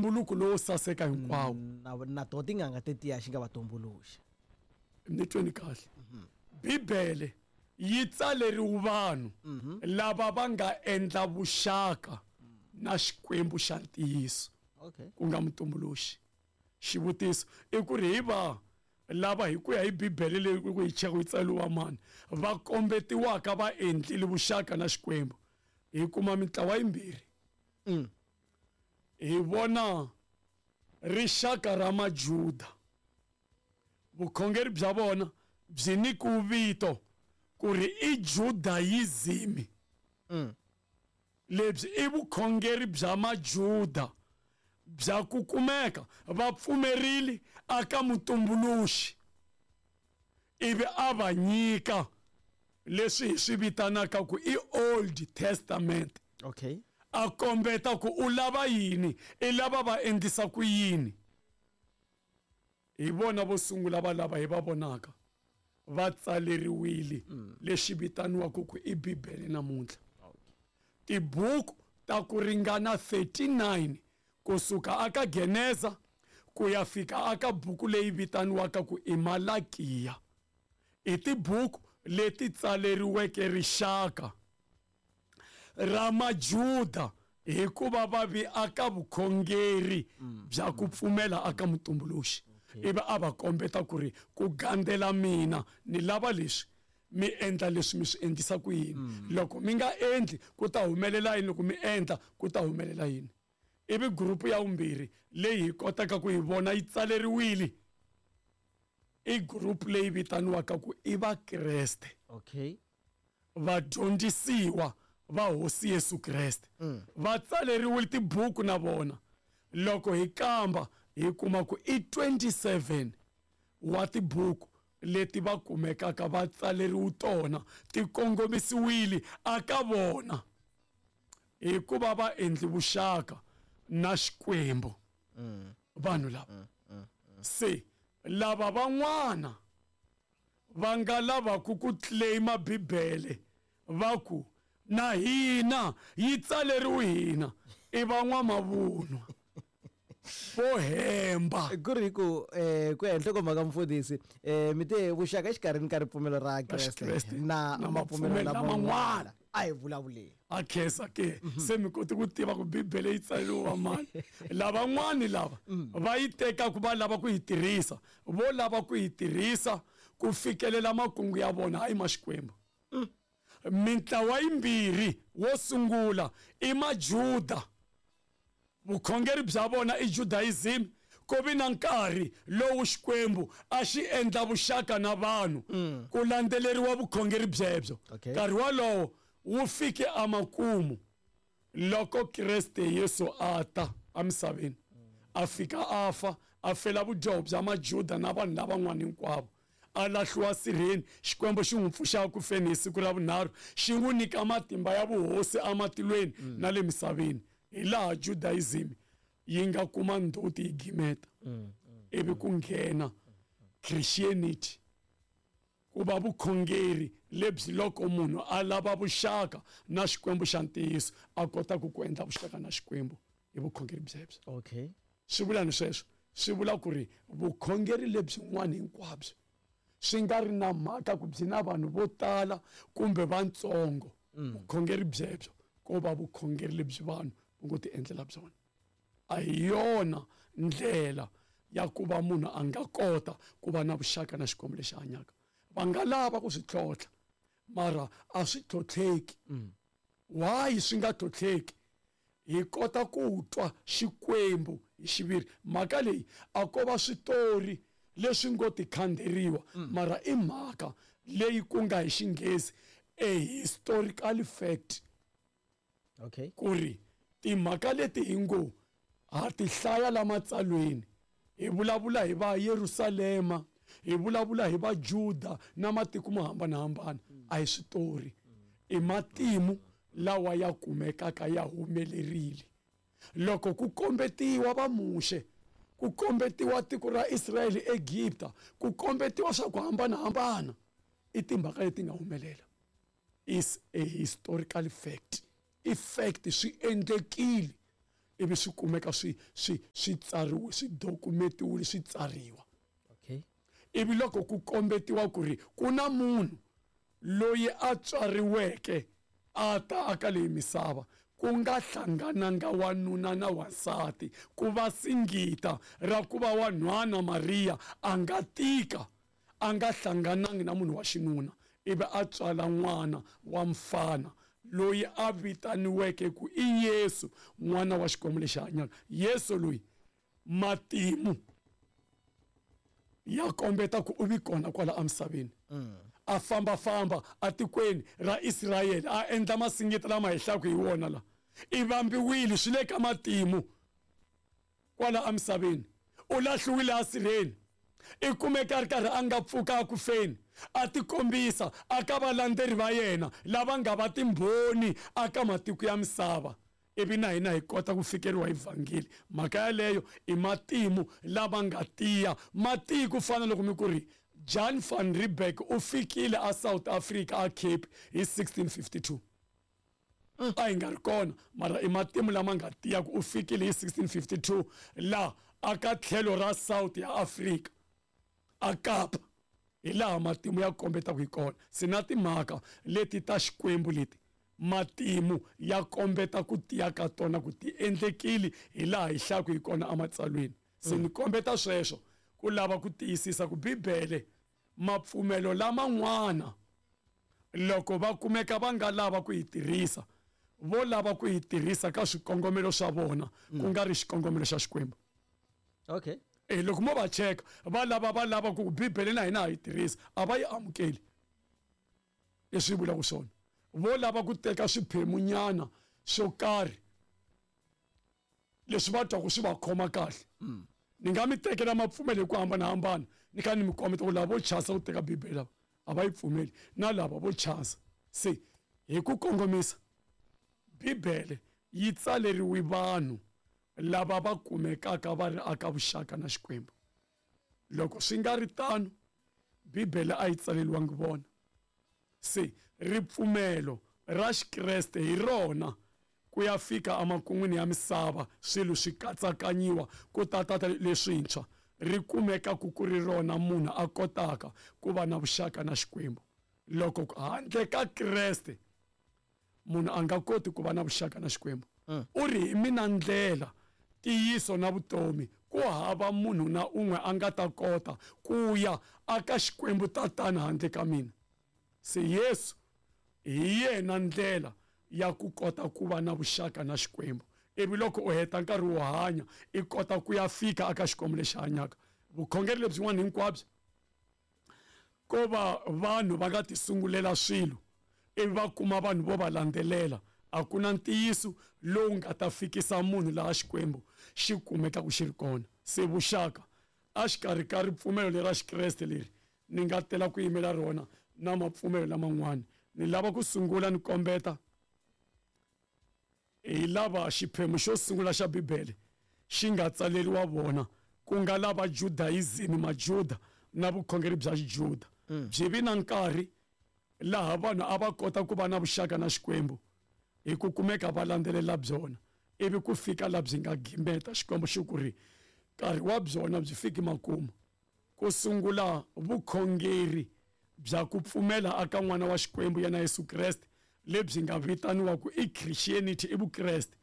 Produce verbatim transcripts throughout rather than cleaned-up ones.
ntumbuluko lowo saseka hinkwawo. Na na to tin'anga tetiya xi nga va tumbuluxa. Ni tweni kahle. Bibele yi tsaleriwe vanhu lava va nga endla vuxaka na Xikwembu xa ntiyiso. Okay. Ku nga mutumbuluxi. Xivutiso i ku ri hi va lava hi ku ya hi Bibele leyi ku yi cheka yi tsariwa mani va kombetiwaka va endlile vuxaka na Xikwembu. Hi kuma mintlawa yimbirhi. Mm. Hi vona rixaka ra Majuda. Vukhongeri bya vona byi nyikiwe vito ku ri i Judaism. Mm. Lebyi i vukhongeri bya Majuda bya ku kumeka va pfumerile aka mutumbuluxi ivi a va nyika leswi hi swi vitanaka ku i Old Testament. Okay. A kombeta ku u lava yini, i lava va endlisa ku yini. Hi vona vo sungula va lava hi va vonaka va tsaleriwile lexi vitaniwaka ku i Bibele namuntlha. Tibuku ta ku ringana thirty-nine kusuka aka Geneza ku ya fika aka buku leyi vitaniwaka ku i Malakiya. I tibuku leti tsaleriweke rixaka ra Majuda hikuva va vi aka vukhongeri bya ku pfumela aka mutumbuluxi. Ivi a va kombeta ku ri ku gandzela mina ni lava leswi mi endla leswi mi swi endlisa ku yini. Loko mi nga endli ku ta humelela yini, loko mi endla ku ta humelela yini. Ivi group ya vumbirhi leyi hi kotaka ku yi vona yi tsaleriwile i group leyi vitaniwaka ku i Vakreste. Okay. Vadyondzisiwa va Hosi Yesu Kreste. Va tsaleriwile tibuku na vona. Loko hi kamba hi kuma ku i twenty-seven wa tibuku leti va kumekaka va tsaleriwe tona ti kongomisiwile aka vona hikuva va endli vuxaka na Xikwembu. Vanhu lava se lava van'wana va nga lavaku ku claima Bibele va ku na hina yi tsaleriwe hina i van'wamavunwa vo hemba. Ku ri ku eh ku ya nhlokomhaka mfundhisi eh mi te vuxaka exikarhini ka ripfumelo ra Kreste na mapfumelo laman'wana a hi vulavuleni. A khensa ke se mi koti ku tiva ku Bibele yi tsariwa mani. Lavan'wani lava va yi teka ku va lava ku yi tirhisa, vo lava ku yi tirhisa ku fikelela makungu ya vona hayi ma Xikwembu. Mintlawa yimbirhi wo sungula i Majuda. Vukhongeri bya vona i Judaism. Ku vi na nkarhi lowu Xikwembu a xi endla vuxaka na vanhu ku landzeleriwa vukhongeri byebyo. Nkarhi walowo wu fike emakumu loko Kreste Yesu a ta emisaveni, a fika a fa, a fela vudyoho bya Majuda na vanhu lavan'wana hinkwavo. A lahliwa sirheni, Xikwembu xi n'wi pfuxa ku feni hi siku ra vunharhu, xi n'wi nyika matimba ya vuhosi ematilweni na le misaveni. Hi laha Judaism yi nga kuma ndzhuti yi gimeta ivi ku nghena Christianity ku va vukhongeri lebyi loko munhu a lava vuxaka na Xikwembu xa ntiyiso a kota ku ku endla vuxaka na Xikwembu hi vukhongeri byebyo. Okay. Swi vula ni sweswo, swi vula ku ri vukhongeri lebyin'wana hinkwabyo swi nga ri na mhaka ku byi na vanhu vo tala kumbe vantsongo, vukhongeri byebyo ko va vukhongeri lebyi vanhu va ngo ti endlela byona. A hi yona ndlela ya ku va munhu a nga kota ku va na vuxaka na Xikwembu lexi hanyaka. Va nga lava ku swi tlhontlha mara a swi tlhontlheki. Why swi nga tlhontlheki? Hi kota ku twa Xikwembu hi xiviri. Mhaka leyi a ko va switori leswi ngo tikhanderiwa, mara i mhaka leyi ku nga hi Xinghezi a historical fact. Okay. Ku ri timhaka leti hi ngo ha ti hlaya la matsalweni, hi vulavula hi va Yerusalema, hi vulavula hi va Juda na matiko mo hambanahambana, a hi switori, i matimu lawa ya kumekaka ya humelerile. Loko ku kombetiwa va Muxe, ku kombetiwa tiko ra Israyele Egipta, ku kombetiwa swa ku hambanahambana, i timhaka leti nga humelela. Is a historical fact. I fact swi endlekile. Ivi swi kumeka swi swi swi tsariwe swi dokumentiwile swi tsariwa. Okay. Ivi loko ku kombetiwa ku ri ku na munhu loyi a tswariweke a ta aka leyi misava ku nga hlangananga wanuna na wansati ku va singita ra ku va wanhwana Mariya a nga tika a nga hlanganangi na munhu wa xinuna ivi a tswala n'wana wa mfana loyi a vitaniweke ku i Yesu n'wana wa Xikwembu lexi hanyaka. Yesu loyi matimu ya kombeta ku u vi kona kwala emisaveni. A famba-famba atikweni ra Israyele a endla masingita lama hi hlaku hi wona la i vambiwile swi le ka matimu kwala emisaveni. U lahliwile asirheni i kumeka a ri karhi a nga pfuka a ku feni a tikombisa aka valandzeri va yena lava nga va timbhoni aka matiko ya misava ivi na hina hi kota ku fikeriwa hi vhangeli. Mhaka yaleyo i matimu lama nga tiya matiku ku fana loko mi ku ri Jan van Riebeeck u fikile a South Africa a Cape hi sixteen fifty-two. A hi nga ri kona mara i matimu lama nga tiya ku u fikile hi sixteen fifty-two la aka tlhelo ra South ya Africa a Kapa. Hi laha matimu ya kombetaka hi kona. Se na timhaka leti ta Xikwembu leti matimu ya kombeta ku tiya ka tona ku ti endlekile hi laha hi hlaku hi kona ematsalweni. Se ni kombeta sweswo ku lava ku tiyisisa ku Bibele mapfumelo laman'wana loko va kumeka va nga lava ku yi tirhisa vo lava ku yi tirhisa ka swikongomelo swa vona ku nga ri xikongomelo xa Xikwembu. Okay. Eh loko mo va cheka va lava va lava ku Bibele na hina ha yi tirhisa a va yi amukeli leswi vulaka swona. Vo lava ku teka swiphemunyana swo karhi leswi va twaku swi va khoma kahle. Ni nga mi tekela mapfumelo hi ku hambanahambana ni kha ni mi kombeta ku lava vo chasa ku teka Bibele lava a va yi pfumeli na lava vo chasa. Se hi ku kongomisa Bibele yi tsaleriwe vanhu lava va kumekaka va ri aka vuxaka na Xikwembu. Loko swi nga ri tano Bibele a yi tsaleriwangi vona. Se ripfumelo ra Xikreste hi rona ku ya fika emakun'wini ya misava swilo swi katsakanyiwa ku tata leswintshwa ri kumeka ku ku ri rona munhu a kotaka ku va na vuxaka na Xikwembu. Loko handle ka Kreste munhu a nga koti ku va na vuxaka na Xikwembu. U ri hi mina ndlela ntiyiso na vutomi ku hava munhu na un'we a nga ta kota ku ya aka Xikwembu tatana handle ka mina. Se Yesu hi yena ndlela ya ku kota ku va na vuxaka na Xikwembu. Ivi loko u heta nkarhi wo hanya i kota ku ya fika aka Xikwembu lexi hanyaka. Vukhongeri lebyin'wana hinkwabyo ko va vanhu va nga tisungulela swilo ivi va kuma vanhu vo va landzelela a ku na ntiyiso lowu nga ta fikisa munhu laha Xikwembu xi kumekaka xi ri kona. Se vuxaka a xikarhi ka ripfumelo lera Xikreste leri ni nga tela ku yimela rona na mapfumelo laman'wana ni lava ku sungula ni kombeta hi lava xiphemu xo sungula xa Bibele xi nga tsaleriwa vona ku nga lava Judaism Majuda na vukhongeri bya Xijuda. Byi vi na nkarhi laha vanhu a va kota ku va na vuxaka na Xikwembu hi ku kumeka va landzelela byona ivi ku fika la byi nga gimeta Xikwembu xi ku ri nkarhi wa byona byi fiki makumu ku sungula vukhongeri bya ku pfumela aka n'wana wa Xikwembu yena Yesu Kreste lebyi nga vitaniwa ku i Christianity i Vukreste.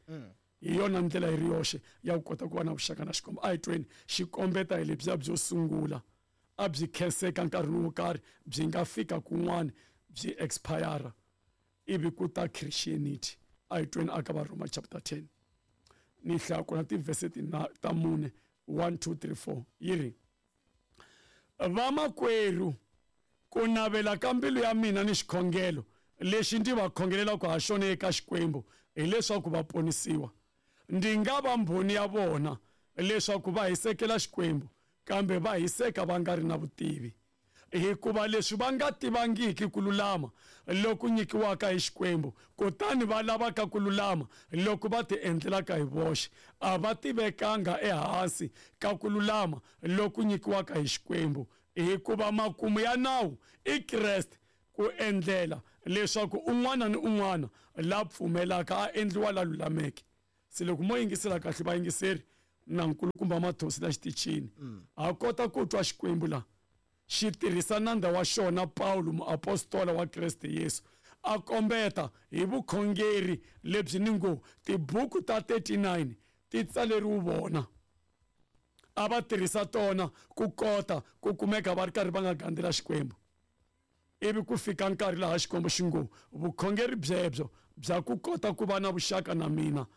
Hi yona ndlela yi ri yoxe ya ku kota ku va na vuxaka na Xikwembu. A hi tweni xi kombeta hi lebyiya byo sungula a byi khenseka nkarhi wo karhi byi nga fika kun'wana byi expire ivi ku ta Christianity. A hi tweni aka va Roma chapter ten ni hlaya kona tivhese ta mune one two three four yi ri vamakwerhu ku navela ka mbilu ya mina ni xikhongelo lexi ndzi va khongelelaka ha xona eka Xikwembu hileswaku va ponisiwa. Ndzi nga va mbhoni ya vona leswaku va hisekela Xikwembu kambe va hiseka va nga ri na vutivi. Hikuva leswi va nga tivangiki ku lulama loku nyikiwaka hi Xikwembu kutani va lavaka ku lulama loko va ti endlelaka hi voxe a va tivekanga ehansi ka ku lulama loku nyikiwaka hi Xikwembu. Hikuva makumu ya nawu i Kreste ku endlela leswaku un'wana ni un'wana la pfumelaka a endliwa la lulameke. Se loko mo yingisela kahle vayingiseri na nkulukumba Mathosi la xitichini, ha kota ku twa Xikwembu la xi tirhisa nandza wa xona Paulo muapostola wa Kreste Yesu, a kombeta hi vukhongeri lebyi ni ngo tibuku ta thirty-nine ti tsaleriwe vona, a va tirhisa tona ku kota ku kumeka va ri karhi va nga gandzela Xikwembu. Ivi ku fika nkarhi laha Xikwembu xi ngo vukhongeri byebyo bya ku kota ku va na vuxaka na mina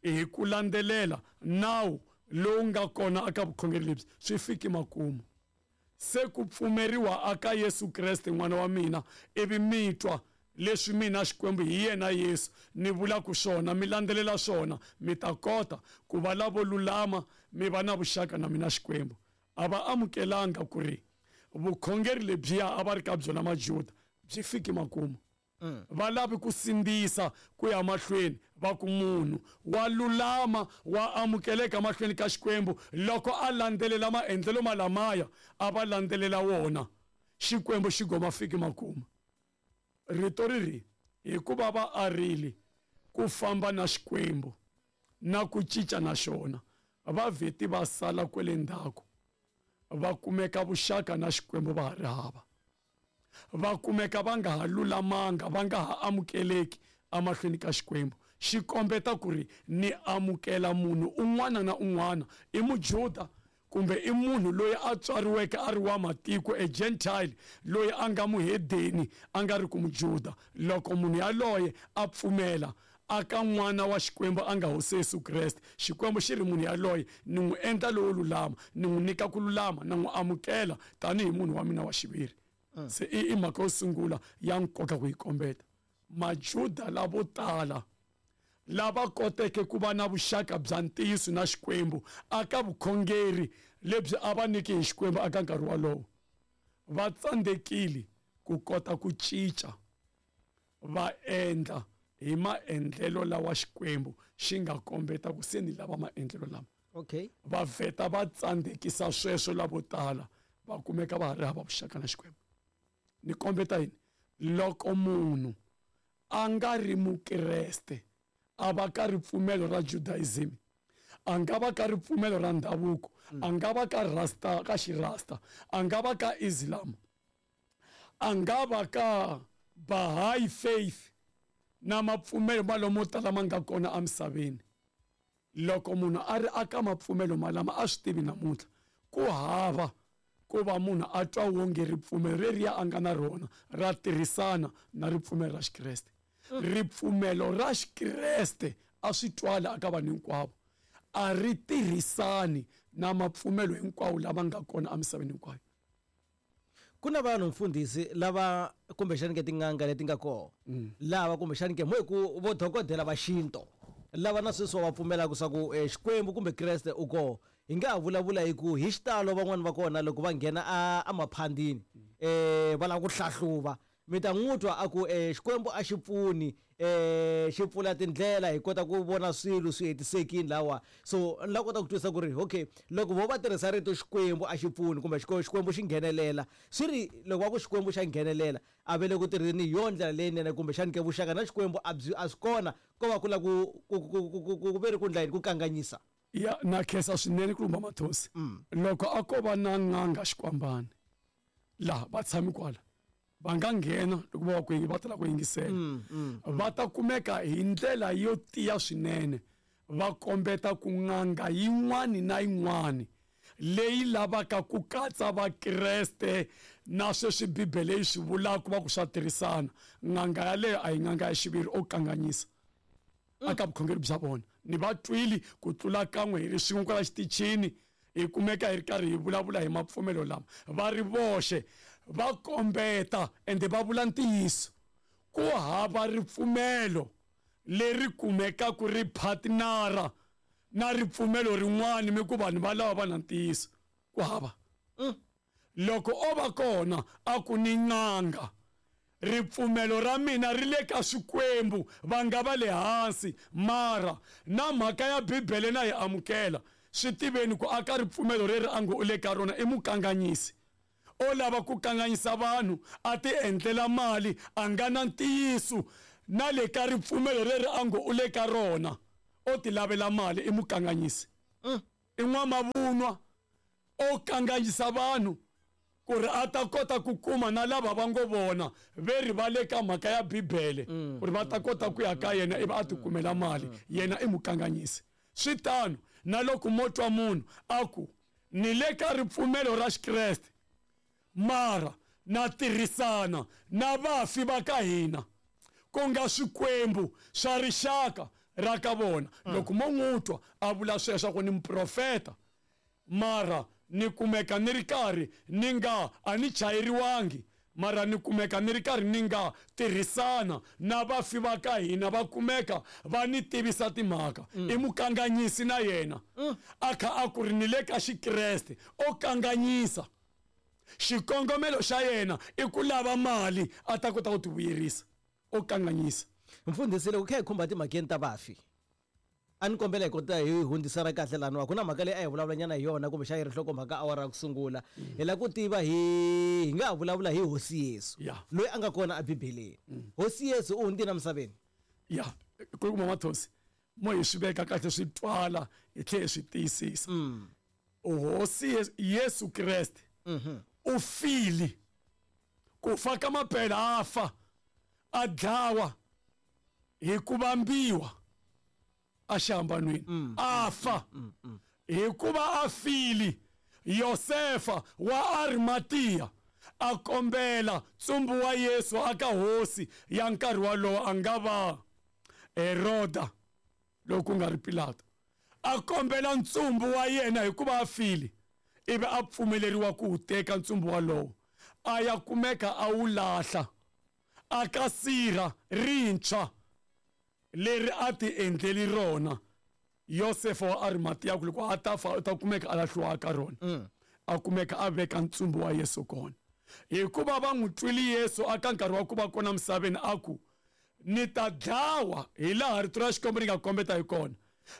hi ku landzelela nawu lowu nga kona eka vukhongeri lebyi swi fiki makumu. Se ku pfumeriwa aka Yesu Kreste n'wana wa mina, ivi mi twa leswi mina Xikwembu hi yena Yesu ni vulaka swona, mi landzelela swona, mi ta kota ku va lavo lulama, mi va na vuxaka na mina Xikwembu. A va amukelanga ku ri vukhongeri lebyiya a va ri ka byona Majuda byi fiki makumu. Va lavi ku sindzisa ku ya mahlweni, va ku munhu wa lulama wa amukeleka mahlweni ka Xikwembu loko a landzelela maendlelo malamaya a va landzelela wona, Xikwembu xi goma fiki makumu. Rito ri ri hikuva va arile ku famba na Xikwembu na ku cinca na xona, va vheti va sala kwele ndzhaku, va kumeka vuxaka na Xikwembu va ha ri hava, va kumeka va nga ha lulamanga, va nga ha amukeleki emahlweni ka Xikwembu. Xi kombeta ku ri ni amukela munhu un'wana na un'wana, i Mujuda kumbe i munhu loyi a tswariweke a ri wa matiko, a gentile loyi a nga muhedeni a nga ri ku Mujuda. Loko munhu yaloye a pfumela aka n'wana wa Xikwembu a nga Hosi Yesu Kreste, Xikwembu xi ri munhu yaloye ni n'wi endla lowo lulama, ni n'wi nyika ku lulama, na n'wi amukela tanihi munhu wa mina wa xiviri. Se i i mhaka yo sungula ya nkoka ku yi kombeta. Majuda lavo tala lava koteke ku va na vuxaka bya ntiyiso na Xikwembu aka vukhongeri lebyi a va nyiki hi Xikwembu aka nkarhi wolowo, va tsandzekile ku kota ku cinca va endla hi maendlelo lawa Xikwembu xi nga kombeta ku se ni lava maendlelo lama. Okay. Va vheta va tsandzekisa sweswo lavo tala, va kumeka va ha ri hava vuxaka na Xikwembu. Ni kombeta yini? Loko munhu a nga ri Mukreste, a va ka ripfumelo ra Judaism, a nga va ka ripfumelo ra ndhavuko, a nga va ka rasta ka xirasta, a nga va ka Islam, a nga va ka Baha'i faith na mapfumelo malomo tala ma nga kona emisaveni. Loko munhu a ri aka mapfumelo malama a swi tivi namuntlha, ku hava ku va munhu a twa wonge ripfumelo reriya a nga na rona ra tirhisana na ripfumelo ra Xikreste. Ripfumelo ra Xikreste a swi twala aka vanhu hinkwavo, a ri tirhisani na mapfumelo hinkwawo lama nga kona emisaveni hinkwayo. Ku na vanhu mfundhisi lava kumbexani ke tin'anga leti nga kona, lava kumbexani ke mo hi ku vo dokodela va xinto, lava na sweswi va pfumelaka swa ku Xikwembu kumbe Kreste u kona. Hi nga ha vulavula hi ku hi xitalo van'wani va kona loko va nghena a emaphandini um va lava ku hlahluva, mi ta n'wi twa a ku Xikwembu a xi pfuni, um xi pfula tindlela hi kota ku vona swilo swi hetisekile lawa. So ni la kota ku twisisa ku ri okay, loko vo va tirhisa rito Xikwembu a xi pfuni kumbe Xikwembu xi nghenelela, swi ri loko va ku Xikwembu xa nghenelela a ve le ku tirheni hi yona ndlela leyinene, kumbexani ke vuxaka na Xikwembu a byi a swi kona, ko va ku lava ku ku ku ku ve ri ku ndla yini ku kanganyisa. Ya na khensa swinene ku lumba Mathosi. Loko a ko va na n'anga Xikwambani laha va tshami kwala, va nga nghena loko va ku va tala ku yingisela, va ta kumeka hi ndlela yo tiya swinene, va kombeta ku n'anga yin'wani na yin'wani leyi lavaka ku katsa Vakreste na sweswi Bibele yi swi vulaka va ku swa tirhisana, n'anga yaleyo a hi n'anga ya xiviri, o kanganyisa aka vukhongeri bya vona. Ni va twile ku tlula kan'we hi ri swin'we kwala xitichini, hi kumeka hi ri karhi hi vulavula hi mapfumelo lama, va ri voxe va kombeta ende va vula ntiyiso. Ku hava ripfumelo leri kumekaka ri partnera na ripfumelo rin'wana mi ku vanhu va lava va na ntiyiso, ku hava. Loko o va kona a ku ni n'anga, ripfumelo ra mina ri le ka Xikwembu, va nga va le hansi, mara na mhaka ya Bibele na yi amukela, swi tiveni ku aka ripfumelo reri a ngo u le ka rona i mukanganyisi. O lava ku kanganyisa vanhu, a ti endlela mali, a nga na ntiyiso na le ka ripfumelo reri a ngo u le ka rona. o ti lavela mali i mukanganyisi i n'wamavunwa o kanganyisa vanhu ku ri a ta kota ku kuma na lava va ngo vona ve ri va le ka mhaka ya bibele ku ri va ta kota ku ya ka yena ivi a ti kumela mali yena i mukanganyisi swi tano na loko mo twa munhu a ku ni le ka ripfumelo ra xikreste mara na tirhisana na vafi va ka hina ku nga swikwembu swa rixaka ra ka vona loko mo n'wi twa a vula sweswo ku ni muprofeta mara ni kumeka ni ri karhi ni nga a ni chayeriwangi mara ni kumeka ni ri karhi ni nga tirhisana na vafi va ka hina va kumeka va ni tivisa timhaka i mukanganyisi na yena a kha a ku ri ni le ka xikreste o kanganyisa xikongomelo xa yena i ku lava mali a ta kota ku ti vuyerisa o kanganyisa mfundhisi loko kha hi khumba timhakeni ta vafi a ni kombela hi kota hi hundzisa ra kahle laniwa ku na mhaka leyi a hi vulavulanyana hi yona kumbe xa yi ri nhlokomhaka awara ya ku sungula hi lava ku tiva hi hi nga ha vulavula hi hosi Yesu loyi a nga kona ebibeleni hosi Yesu u hundzile emisaveni ya ku kuma mathosi mo hi swi veka kahle swi twala hi tlhela hi swi tiyisisa hosi Yesu Kreste u file ku fa ka mapela a fa a dlawa hi ku vambiwa a xihambanweni a fa hikuva a file Yosefa wa Arimathea a kombela ntsumbu wa Yesu aka hosi ya nkarhi wolowo a nga va Heroda loko ku nga ri Pilato a kombela ntsumbu wa yena hikuva a file ivi a pfumeleriwa ku wu teka ntsumbu wolowo a ya kumeka a wu lahla aka sirha rintshwa leri a ti endleli rona Yosefa wa Arimathea ku loko a ta fa u ta kumeka a lahliwa ka rona a kumeka a veka ntsumbu wa Yesu kona hikuva va n'wi twile Yesu aka nkarhi wa ku va kona misaveni a ku ni ta dlawa hi laha rito ra Xikwembu ri nga kombeta hi kona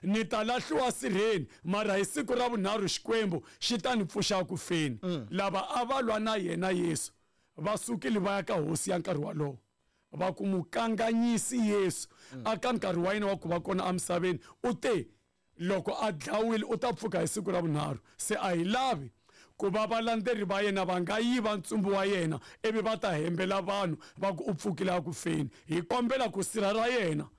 ni ta lahliwa sirheni mara hi siku ra vunharhu Xikwembu xi ta ni pfuxa ku feni lava a va lwa na yena Yesu va sukile va ya ka hosi ya nkarhi wolowo va ku mukanganyisi Yesu aka nkarhi wa yena wa ku va kona emisaveni u te loko a dlawile u ta pfuka hi siku ra vunharhu se a hi lavi ku va valandzeri va yena va nga yiva ntsumbu wa yena ivi va ta hembela vanhu va ku u pfukile a ku feni hi kombela ku sirha ra yena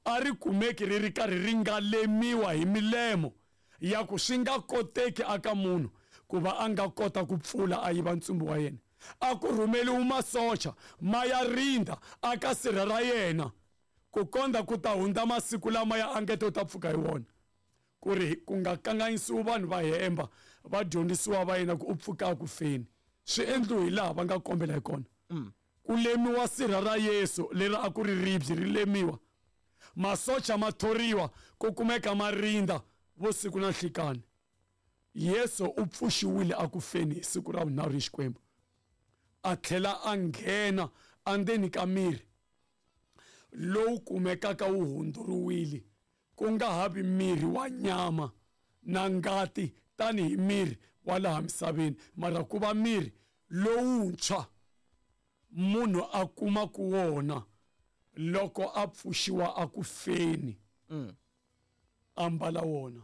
a ri kumeki ri ri karhi ri nga lemiwa hi milemo ya ku swi nga koteki aka munhu ku va a nga kota ku pfula a yiva ntsumbu wa yena a ku rhumeliwe masocha ma ya rinda aka sirha ra yena ku kondza ku ta hundza masiku lama ya angete u ta pfuka hi wona ku ri ku nga kanganyisiwi vanhu va hemba va dyondzisiwa va yena ku u pfuka ku feni swi endliwe hi laha va nga kombela hi kona ku lemiwa sirha ra Yesu leri a ku ri ribye ri lemiwa masocha ma thoriwa ku kumeka ma rinda vusiku na nhlikani Yesu u pfuxiwile a ku feni hi siku ra vunharhu hi Xikwembu a tlhela a nghena endzeni ka miri lowu kumekaka wu hundzuriwile ku nga ha vi miri wa nyama na ngati tanihi miri wa laha misaveni mara ku va miri lowuntshwa munhu a kuma ku wona loko a pfuxiwa a ku feni ambala wona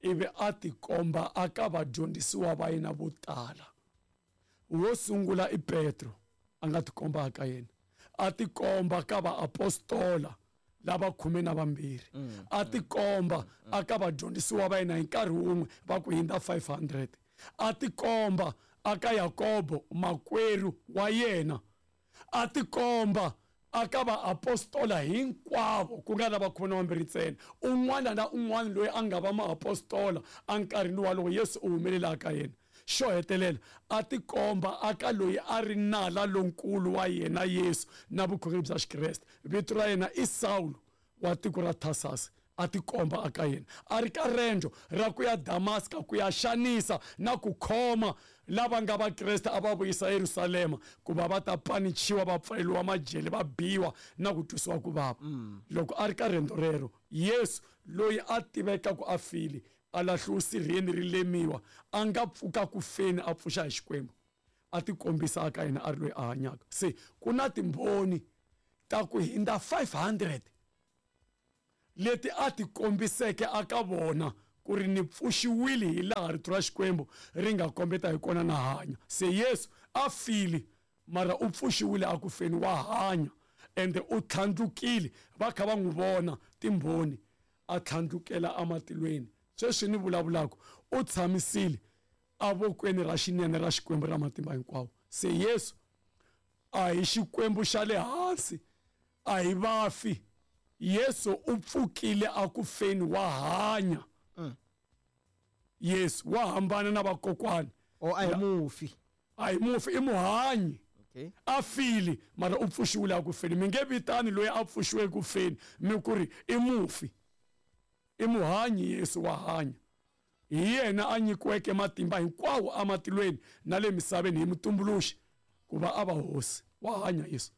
ivi a tikomba aka vadyondzisiwa va yena vo tala wo sungula i Petro a nga tikomba aka yena a tikomba ka vaapostola lava khume na vambirhi a tikomba aka vadyondzisiwa va yena hi nkarhi wun'we va ku hindza five hundred a tikomba aka Yakobo makwerhu wa yena a tikomba aka vaapostola hinkwavo ku nga lava khume na vambirhi ntsena un'wana na un'wana loyi a nga va maapostola enkarhini walowo Yesu u humelela aka yena xo hetelela a tikomba aka loyi a ri nala lonkulu wa yena Yesu na vukhongeri bya Xikreste vito ra yena i Sawulo wa tiko ra Tarsus a tikomba aka yena a ri ka rendzo ra ku ya Damaska ku ya xanisa na ku khoma lava nga Vakreste a va vuyisa Yerusalema ku va va ta panichiwa va pfaleriwa majele va biwa na ku twisiwa ku vava loko a ri ka rendzo rero Yesu loyi a tiveka ku a file a lahliwe sirheni ri lemiwa a nga pfuka ku feni a pfuxa hi Xikwembu a tikombisa aka yena a ri loyi a hanyaka se ku na timbhoni ta ku hindza five hundred leti a ti kombiseke aka vona ku ri ni pfuxiwile hi laha rito ra Xikwembu ri nga kombeta hi kona na hanya. Se Yesu a file mara u pfuxiwile a ku feni, wa hanya ende u tlhandlukile, va kha va n'wi vona timbhoni a tlhandlukela amatilweni. Sweswi ni vulavulaka u tshamisile avokweni ra xinene ra Xikwembu ra matimba hinkwawo. Se Yesu a hi Xikwembu xa le hansi, a hi vafi. Yesu u pfukile a ku feni, wa hanya. Yesu wa hambana na vakokwani. O a hi mufi, a hi mufi, i muhanyi. Okay. A file mara u pfuxiwile a ku feni. Mi nge vitani loyi a pfuxiweke ku feni mi ku ri i mufi. I muhanyi, Yesu wa hanya. Hi yena a nyikiweke matimba hinkwawo amatilweni na le misaveni hi mutumbuluxi ku va a va hosi. Wa hanya Yesu.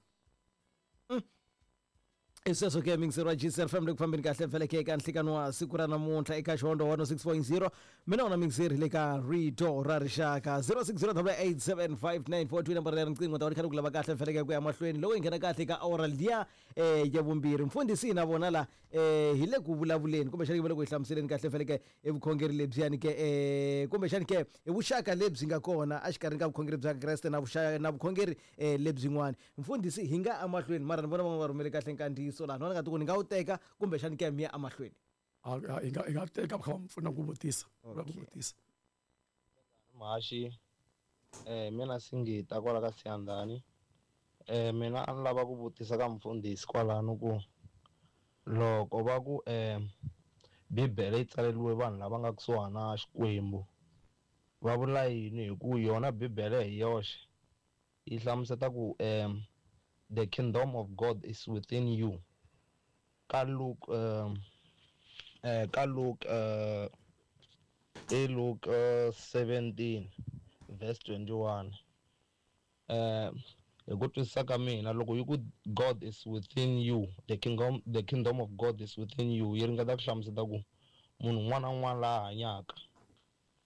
I sweswo ke mingiseri wa G C F M le ku fambeni kahle vheleke eka nhlikano wa siku ra namuntlha eka Xihondzo one oh six point zero. Mina wona mingiseri le ka Rito ra Rixaka zero six zero double eight seven five nine four two nambara ya riqingho ta va ri kha ri ku lava kahle vheleke ku ya mahlweni loko hi nghena kahle eka awara liya eh ya vumbirhi. Mfundhisi na vona la eh hi le ku vulavuleni kumbexani va le ku hi hlamuseleni kahle vheleke i vukhongeri lebyiyani ke eh kumbexani ke i vuxaka lebyi nga kona exikarhi ka vukhongeri bya Kreste na vuxaka na vukhongeri eh lebyin'wana. Mfundhisi hi nga emahlweni mara ni vona van'wana va rhumele kahle nkandziyiso laha ni nga ti ku ni nga wu teka kumbexani ke mi ya emahlweni. A hi nga hi nga teka kha va pfuna ku vutisa, ku vutisa. Mhaxi eh mina Singita kwala ka Siyandhani. Eh mina a ni lava ku vutisa ka mfundhisi kwalano ku loko va ku eh Bibele yi tsaleriwe vanhu lava nga kusuhana na Xikwembu va vula yini? Hi ku yona Bibele hi yoxe yi hlamuseta ku eh the kingdom of God is within you. Ka Luke um eh ka Luke eh e Luke uh, seventeen verse twenty-one. Eh hi ku twisisa ka mina loko yi ku God is within you, the kingdom the kingdom of God is within you, yi ringeta ku hlamuseta ku munhu un'wana na un'wana laha hanyaka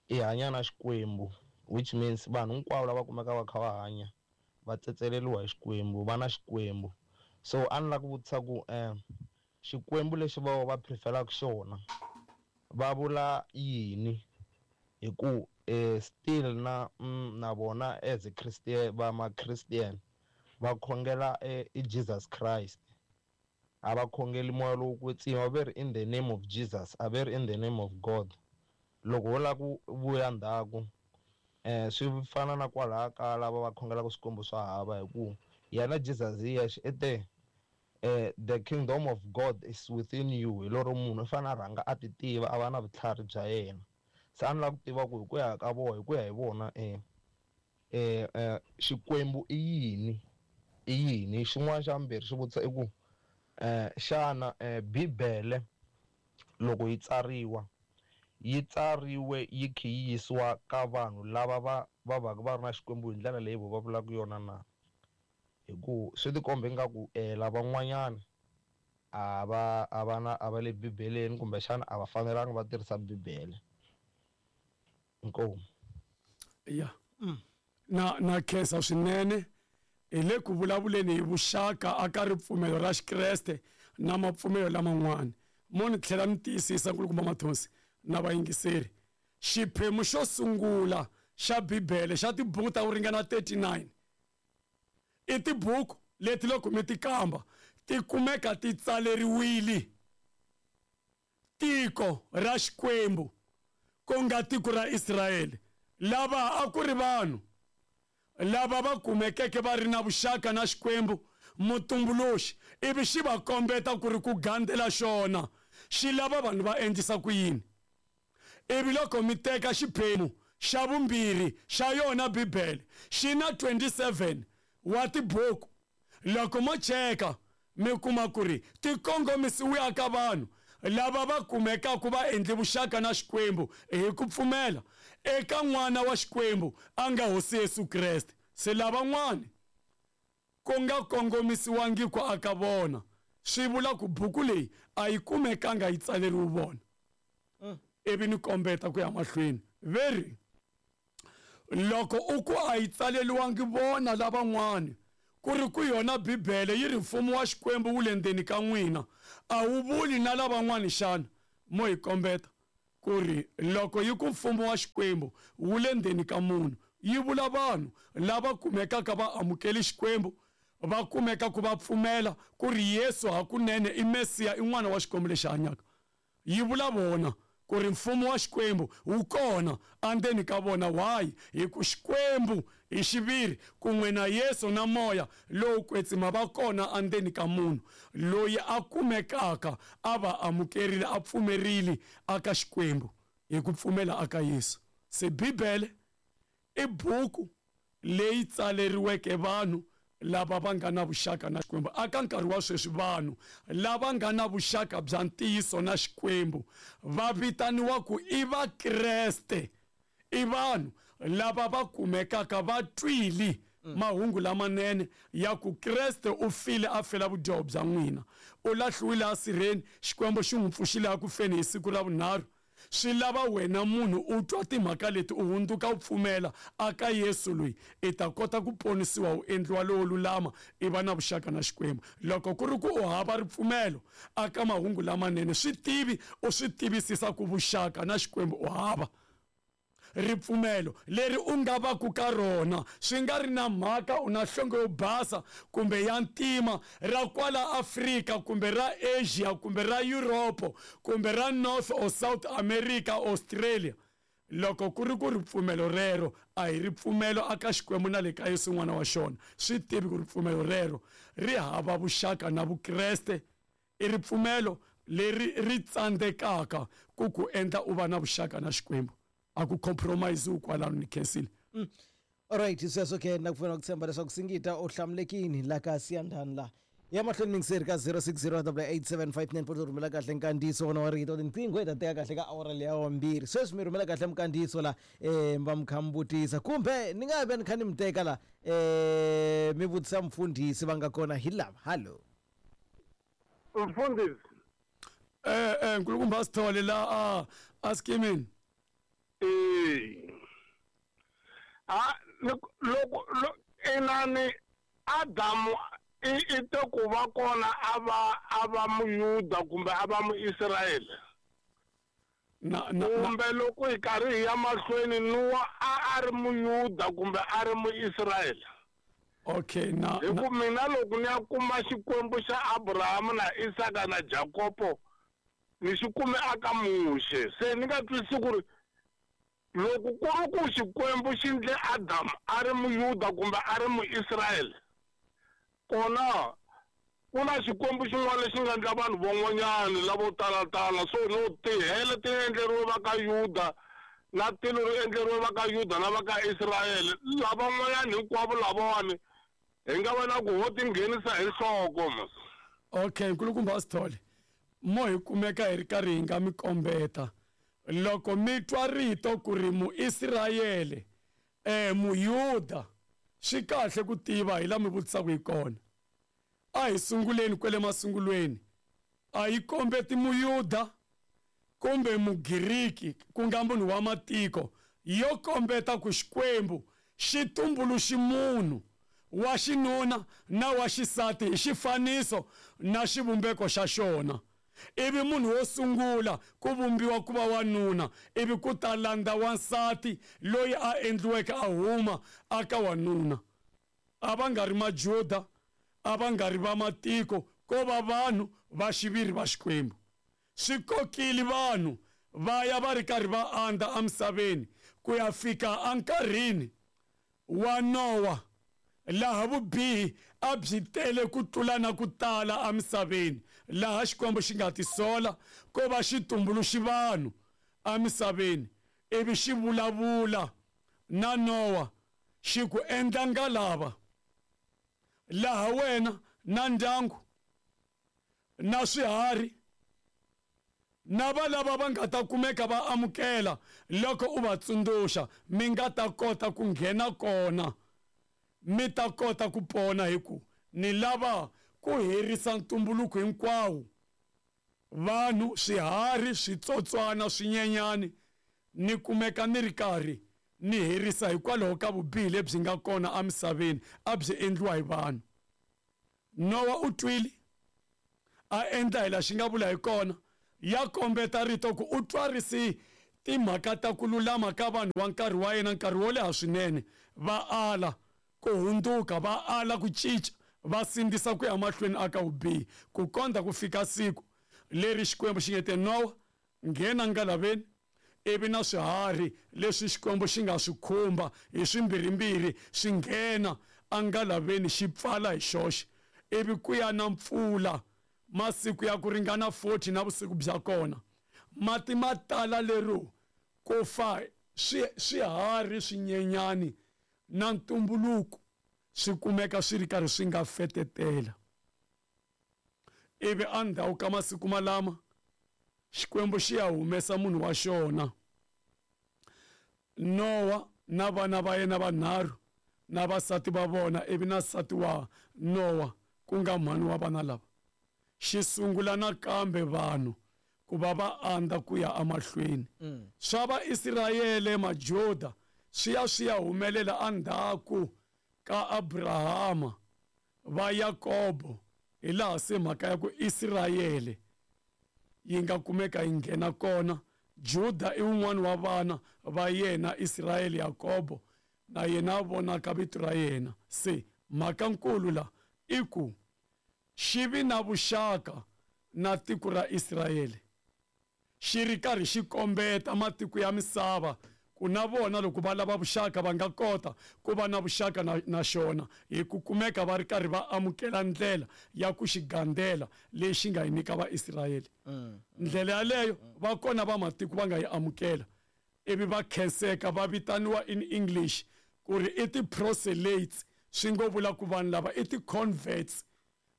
i hanya na Xikwembu, which means vanhu hinkwavo lava kumekaka va kha va hanya va tsetseleriwa hi Xikwembu, va na Xikwembu. So a ni lava ku vutisa ku eh Xikwembu lexi va va preferaka xona va vula yini? Hi ku eh still na mm, na vona as a Christian va ma Christian va khongela eh, i Jesus Christ, a va khongeli moya lowo kwetsima, va ri in the name of Jesus, a va ri in the name of God. Loko ho lava ku vuya ndzhaku eh swi fana na kwalaha ka lava va khongelaka swikwembu swa hava, hi ku yena Jesus hi yexe i te eh the kingdom of God is within you. Hi lero munhu u fanele a rhanga a ti tiva, a va na vutlhari bya yena. Se a ni lava ku tiva ku hi ku ya ka vona, hi ku ya hi vona eh eh eh Xikwembu i yini, i yini? Xin'wana xa vumbirhi xi vutisa i ku eh xana eh Bibele loko yi tsariwa yi tsariwe yi kha yi yisiwa ka vanhu lava va va va va ri na Xikwembu hi ndlela leyi va vulaka yona na? Hi ku swi tikomba ingaku eh lavan'wanyana a va a va na a va le Bibeleni kumbexana a va fanelanga va tirhisa Bibele. Inkomu. Ya. Na na khensa swinene hi le ku vulavuleni hi vuxaka aka ripfumelo ra Xikreste na mapfumelo laman'wana. Mo ni tlhela ni tiyisisa nkulukumba Mathonsi na vayingiseri, xiphemu xo sungula xa Bibele xa tibuku ta ku ringana thirty-nine i tibuku leti loko mi ti kamba ti kumeka ti tsaleriwile tiko ra Xikwembu ku nga tiko ra Israyele. Lava a ku ri vanhu lava va kumekeke va ri na vuxaka na Xikwembu mutumbuluxi, ivi xi va kombeta ku ri ku gandzela xona xi lava vanhu va endlisa ku yini. Ivi loko mi teka xiphemu xa vumbirhi xa yona Bibele xi na twenty-seven wa tibuku, loko mo cheka mi kuma ku ri ti kongomisiwe ka vanhu lava va kumekaka va endle vuxaka na Xikwembu hi ku pfumela eka n'wana wa Xikwembu a nga Hosi Yesu Kreste. Se lavan'wana ku nga kongomisiwangi ku aka vona, swi vula ku buku leyi a yi kumekanga yi tsaleriwe vona. Ivi ni kombeta ku ya mahlweni veri loko u ku a yi tsaleriwangi vona lavan'wana, Ku ri ku yona Bibele yi ri mfumo wa Xikwembu wu le ndzeni ka n'wina, a wu vuli na lavan'wani xana? Mo hi kombeta ku ri loko yi ku mfumo wa Xikwembu wu le ndzeni ka munhu, yi vula vanhu lava kumekaka va amukeli Xikwembu, va kumeka ku va pfumela ku ri Yesu hakunene i Mesiya, i n'wana wa Xikwembu lexi hanyaka. Yi vula vona ku ri mfumo wa Xikwembu wu kona endzeni ka vona. Why? Hi ku Xikwembu hi xiviri kun'we na Yesu na Moya lowo kwetsima va kona endzeni ka munhu loyi a kumekaka a va amukerile, a pfumerile aka Xikwembu hi ku pfumela aka Yesu. Se Bibele i buku leyi tsaleriweke vanhu lava va nga na vuxaka na Xikwembu. Aka nkarhi wa sweswi vanhu lava nga na vuxaka bya ntiyiso na Xikwembu va vitaniwa ku i Vakreste, i vanhu lava va kumekaka va twile mahungu lamanene ya ku Kreste u file a fela vudyoho bya n'wina, u lahliwile asirheni, Xikwembu xi n'wi pfuxile a ku feni hi siku ra vunharhu. Swi lava wena munhu u twa timhaka leti, u hundzuka u pfumela aka Yesu loyi, i ta kota ku ponisiwa, u endliwa lowo lulama, i va na vuxaka na Xikwembu. Loko ku ri ku u hava ripfumelo aka mahungu lamanene, swi tivi u swi tivisisa ku vuxaka na Xikwembu u hava. Ripfumelo leri u nga va ku ka rona swi nga ri na mhaka u na nhlonge yo basa kumbe ya ntima, ra kwala Afrika kumbe ra Asia kumbe ra Europe kumbe ra North or South America, Australia. Loko ku ri ku ripfumelo rero a hi ripfumelo aka Xikwembu na le ka Yesu n'wana wa xona, swi tivi ku ripfumelo rero ri hava vuxaka na Vukreste. I ripfumelo leri ri tsandzekaka ku ku endla u va na vuxaka na Xikwembu. A ku compromise kwalano ni khensile. Alright, sweswo ke na ku pfuna ku tshemba leswaku Singita u hlamulekini la ka Siyandhani la. Ya mahlweni mingiseri ka zero six zero double eight seven five nine four, rhumela kahle nkandziyiso wona wa rito tinqingho hi ta teka kahle ka awara leya wa mbirhi. Sweswi mi rhumela kahle minkandziyiso la, eh va mi kha mi vutisa kumbe ni nga ve ni kha ni mi teka la, eh mi vutisa mfundhisi va nga kona hi lava. Hallo mfundhisi. Eh eh nkulukumba Sithole la a a skimini. Eh. Ah, loko loko inani Adamu i i te ku va kona a va a va Muyuda kumbe a va Muisraele. Na na kumbe loko hi karhi hi ya mahlweni Noa a a ri Muyuda kumbe a ri Muisraele. Okay, na hi ku mina loko ni ya kuma Xikwembu xa Abraham na Isaka na Jakobo ni xi kume aka Muxe. Se ni nga twisisi ku ri loko ku ri ku Xikwembu xi ndle Adam a ri Muyuda kumbe a ri Muisraele, kona ku na Xikwembu xin'wana lexi nga endla vanhu van'wanyana lavo talatala. So no tihele ti endleriwe va ka Yuda na tilo ri endleriwe va ka Yuda na va ka Israele, lavan'wanyana hinkwavo lavawani hi nga va na ku ho ti nghenisa hi nhloko mos. Okay, nkulukumba Sithole, mo hi kumeka hi ri karhi hi nga mi kombeta. Loko mi twa rito ku ri Muisraele, eh Muyuda, swi kahle ku tiva hi la mi vutisaka hi kona. A hi sunguleni kwele masungulweni, a yi kombeti Muyuda kumbe Mugiriki ku nga munhu wa matiko, yo kombeta ku Xikwembu xi tumbuluxi munhu wa xinuna na wa xisati hi xifaniso na xivumbeko xa xona. Ivi munhu wo sungula ku vumbiwa ku va wanuna, ivi ku ta landza wansati loyi a endliweke a huma aka wanuna. A va nga ri Majuda, a va nga ri va matiko, ko va vanhu va xiviri va Xikwembu. Swi kokile vanhu va ya va ri karhi va andza emisaveni ku ya fika enkarhini wa Nowa, laha vubihi a byi tele ku tlula na ku tala emisaveni, laha Xikwembu xi nga tisola ko va xi tumbuluxi vanhu emisaveni, ivi xi vulavula na Nowa xi ku endla ngalava laha wena na ndyangu na swiharhi na va lava va nga ta kumeka va amukela loko u va tsundzuxa, mi nga ta kota ku nghena kona, mi ta kota ku pona, hi ku ni lava ku herisa ntumbuluko hinkwawo, vanhu, swiharhi, switsotswana, swinyenyani, ni kumeka ni ri karhi ni herisa hikwalaho ka vubihi lebyi nga kona emisaveni a byi endliwa hi vanhu. Nowa u twile a endla hi laha xi nga vula hi kona ya kombeta rito ku u twarisi timhaka ta ku lulama ka vanhu va nkarhi wa yena nkarhi wo leha swinene va ala ku hundzuka va ala ku cinca va sindzisa ku ya mahlweni aka vubihi ku kondza ku fika siku leri Xikwembu xi nge te Nowa nghena ngalaveni ivi na swiharhi leswi Xikwembu xi nga swi khumba hi swimbirhimbirhi swi nghena angalaveni xi pfala hi xoxe ivi ku ya na mpfula masiku ya ku ringana forty na vusiku bya kona mati ma tala lero ku fa swi swiharhi swinyenyani na ntumbuluko swi kumeka swi ri karhi swi nga fetetela ivi endzhaku ka masiku malama Xikwembu xi ya humesa munhu wa xona Nowa na vana va yena vanharhu na vasati va vona ivi na nsati wa Nowa ku nga mhani wa vana lava xi sungula nakambe vanhu ku va va andza ku ya emahlweni swa Vaisrayele Majuda swi ya swi ya humelela endzhaku ka Abrahama va Yakobo hi laha se mhaka ya ku Israyele yi nga kumeka yi nghena kona Juda i wun'wana wa vana va yena Israyele Yakobo na yena a vonaka vito ra yena se mhaka nkulu la i ku xi vi na vuxaka na tiko ra Israyele xi ri karhi xi kombeta matiko ya misava ku na vona loko va lava vuxaka va nga kota ku va na vuxaka na, na xona hi ku kumeka va ri karhi va amukela ndlela ya ku xi gandzela leyi xi nga yi nyika Vaisrayele mm. ndlela yaleyo va kona va matiko va nga yi amukela ivi va khenseka va vitaniwa in English ku ri i ti-proselytes swi ngo vula ku vanhu lava i ti-converts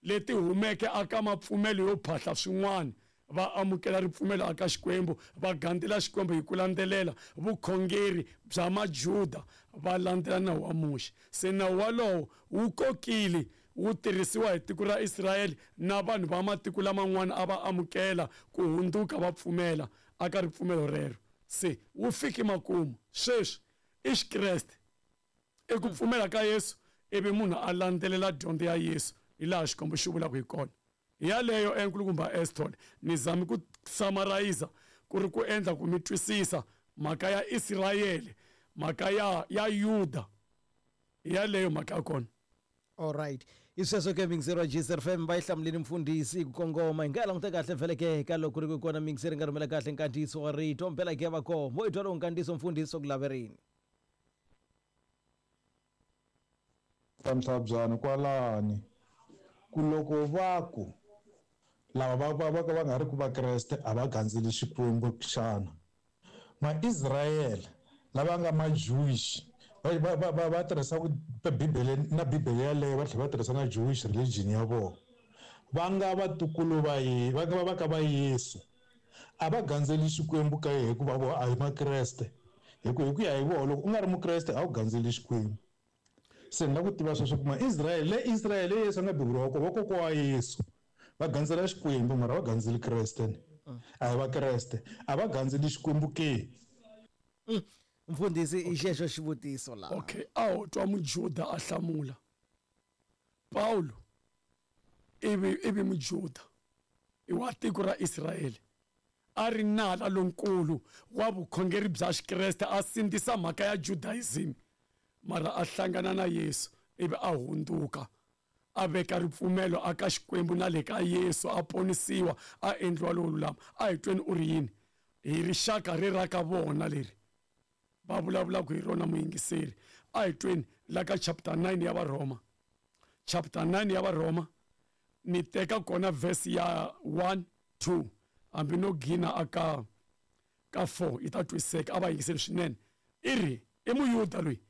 leti humeke aka mapfumelo yo phahla swin'wana va amukela ripfumelo aka Xikwembu va gandzela Xikwembu hi ku landzelela vukhongeri bya Majuda va landzela nawu wa Muxe se nawu walowo wu kokile wu tirhisiwa hi tiko ra Israyele na vanhu va matiko laman'wana a va amukela ku hundzuka va pfumela aka ripfumelo rero se wu fiki makumu sweswi i Xikreste i ku pfumela ka Yesu ivi munhu a landzelela dyondzo ya Yesu hi laha Xikwembu xi vulaka hi kona yaleyo enkulukumba Eston ni zami ku summarize ku ri ku endla ku mi twisisa mhaka ya Israyele mhaka ya ya Yuda yaleyo mhaka ya kona. All right hi sweswo ke mixer wa G S F M va yi hlamuleni mfundhisi ku kongoma hi nga languta kahle vhele ke ka loko ri ku kona mixer nga rhumela kahle nkandziyiso wa rito mpela ke va koho mo i twa lowu nkandziyiso mfundhisi ku laverini Ntlhabyani kwalani ku loko va ku lava va va va va nga ri ku Vakreste a va gandzeli Xikwembu xana Ma-Israyele lava nga ma-Jewish va va va va tirhisa Bibele na Bibele yaleyo va tlhela va tirhisa na Jewish religion ya vona va nga vatukulu va ye va nga va ka va Yesu a va gandzeli Xikwembu ka hikuva vo a hi Makreste hi ku hi ku ya hi vona loko u nga ri Mukreste a wu gandzeli Xikwembu se ni lava ku tiva sweswo ku Ma-Israyele le Israyele Yesu a nga beburiwa kona vakokwa wa Yesu va gandzela Xikwembu mara va gandzeli Kreste a hi Vakreste a va gandzeli Xikwembu ke mfundhisi i xexo xivutiso laha okay a ho twa Mujuda a hlamula Paulo ivi ivi Mujuda i wa tiko ra Israyele a ri nala lonkulu wa vukhongeri bya Xikreste a sindzisa mhaka ya Judaism mara a hlangana na Yesu ivi a hundzuka a veka ripfumelo aka Xikwembu na le ka Yesu a ponisiwa a endliwa lowo lulama a hi tweni u ri yini hi rixaka ri ra ka vona leri va vulavulaka hi rona muyingiseri a hi tweni la ka chapter nine ya Varhoma chapter nine ya Varhoma ni teka kona verse ya one two hambi no gina aka ka four yi ta twisiseka a va yingiseli swinene i ri i Muyuda loyi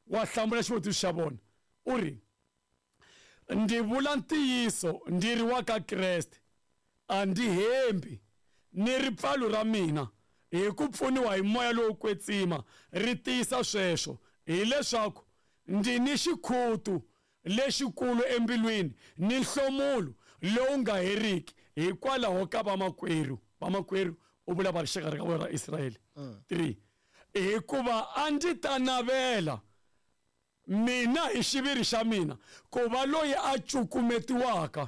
wa hlamula xivutiso xa vona u ri ndzi vula ntiyiso ndzi ri wa ka Kreste a ndzi hembi ni ripfalo ra mina hi ku pfuniwa hi moya lowo kwetsima ri tiyisa sweswo hileswaku ndzi ni xikhutu lexikulu embilwini ni nhlomulo lowu nga heriki hikwalaho ka vamakwerhu vamakwerhu u vula va rixaka ra vona ra Israyele three hikuva a ndzi ta navela Mina hi xiviri xa mina ku va loyi a cukumetiwaka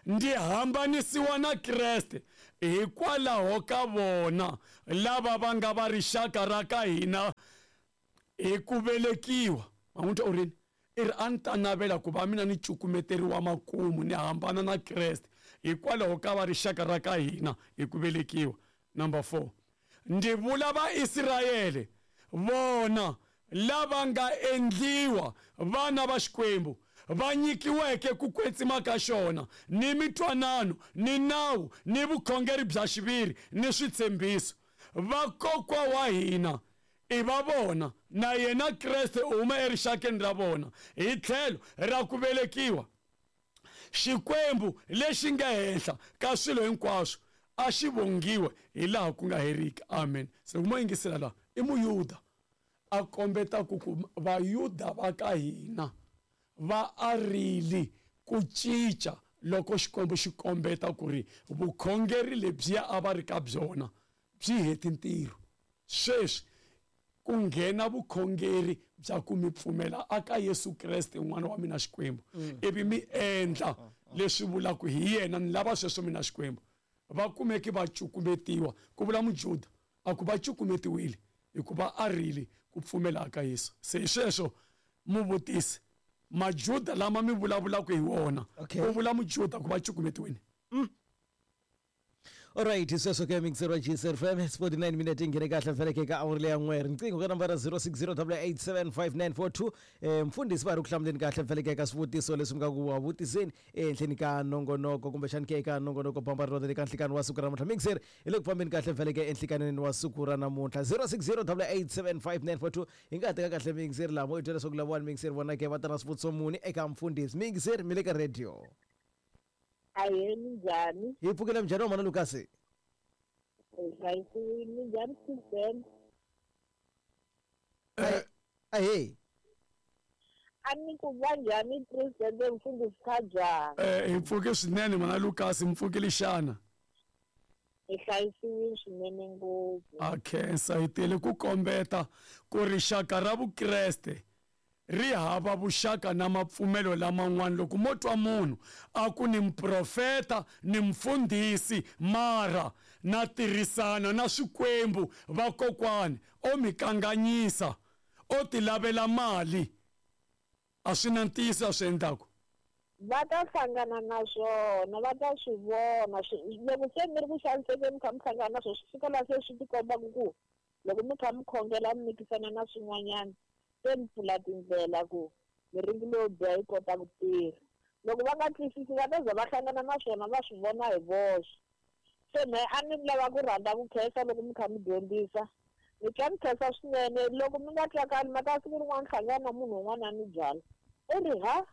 ndzi hambanisiwa na Kreste hikwalaho ka vona lava va nga va rixaka ra ka hina hi ku velekiwa. Ma n'wi twa u rini? I ri a ni ta navela ku va mina ni cukumeteriwa makumu ni hambana na Kreste hikwalaho ka va rixaka ra ka hina hi ku velekiwa. Number four, ndzi vula Vaisrayele vona lava nga endliwa vana va Xikwembu va nyikiweke ku kwetsima ka xona ni mitwanano ni nawu ni vukhongeri bya xiviri ni switshembiso. Vakokwa wa hina i va vona na yena Kreste u huma erixakeni ra vona hi tlhelo ra ku velekiwa. Xikwembu lexi nga henhla ka swilo hinkwaswo a xi vongiwe hi laha ku nga heriki. Amen. Se ku mo yingisela laha i Muyuda a kombeta ku ku Vayuda va ka hina va arile ku cinca loko Xikwembu xi kombeta ku ri vukhongeri lebyiya a va ri ka byona byi heti ntirho. Sweswi ku nghena vukhongeri bya ku mi pfumela aka Yesu Kreste n'wana wa mina Xikwembu ivi mi endla leswi vulaka hi yena ni lava sweswo mina Xikwembu. Va kumeki va cukumetiwa ku vula Mujuda a ku va cukumetiwile hikuva arile ku pfumela aka Yesu. Se hi sweswo muvutisi Majuda lama mi vulavulaka hi wona ku vula Mujuda ku va cukumetiwile. Alright, sweswo ke mixer wa G S F M forty-nine minutes ingene kahle vhele ke ka awuri leya n'we. Riqingho ka nambara zero six zero eight seven five nine four two. Eh mfundisi va ri ku hlamuleni kahle vhele ke ka swivutiso leswi mi nga ku wa vutiseni ehenhleni ka nongonoko kumbexani ke eka nongonoko bamba ro ka nhlikani wa siku ra namuntlha. Mixer hi le ku fambeni kahle vhele ke enhlikanini wa siku ra namuntlha zero six zero eight seven five nine four two. Hi nga teka kahle mixer lamo i twela leswaku lava mixer vona ke va ta na swivutiso muni eka mfundisi. Mixer mi le ka radio. Aye, minjhani? Hi pfukile minjhani wa mana Lucas? Hi minjhani President? Ahe. A ni ku va njhani President mfundhisi Khajani? Eh hi pfuke swinene mana Lucas, mi pfukile xana? Hi hlayisiwile swinene ngopfu. A khensa hi tele ku kombeta ku rixaka ra Vukreste ri hava vuxaka na mapfumelo laman'wana. Loko mo twa munhu a ku ni muprofeta ni mfundhisi mara na tirhisana na swikwembu vakokwani o mi kanganyisa o ti lavela mali a swi na ntiyiso a swi endlaku. Va ta hlangana na swona, va ta swi vona. Loko se mi ri ku xanisekeni mi kha mi hlangana na swona swi fika laha se swi tikombaka ku loko mi kha mi khongela mi mikisana na swin'wanyana se mi pfula tindlela ku miringi leyo biha yi kota ku tirha. Loko va nga twisisi va ta za va hlangana na swona va swi vona hi voxe. Se mehe a ni lava ku rhandza ku khensa loko mi kha mi dyondzisa. Ni twa mi khensa swinene loko mi nga twakali mhaka siku rin'wana hlangana na munhu un'wana a ni byala i ri ha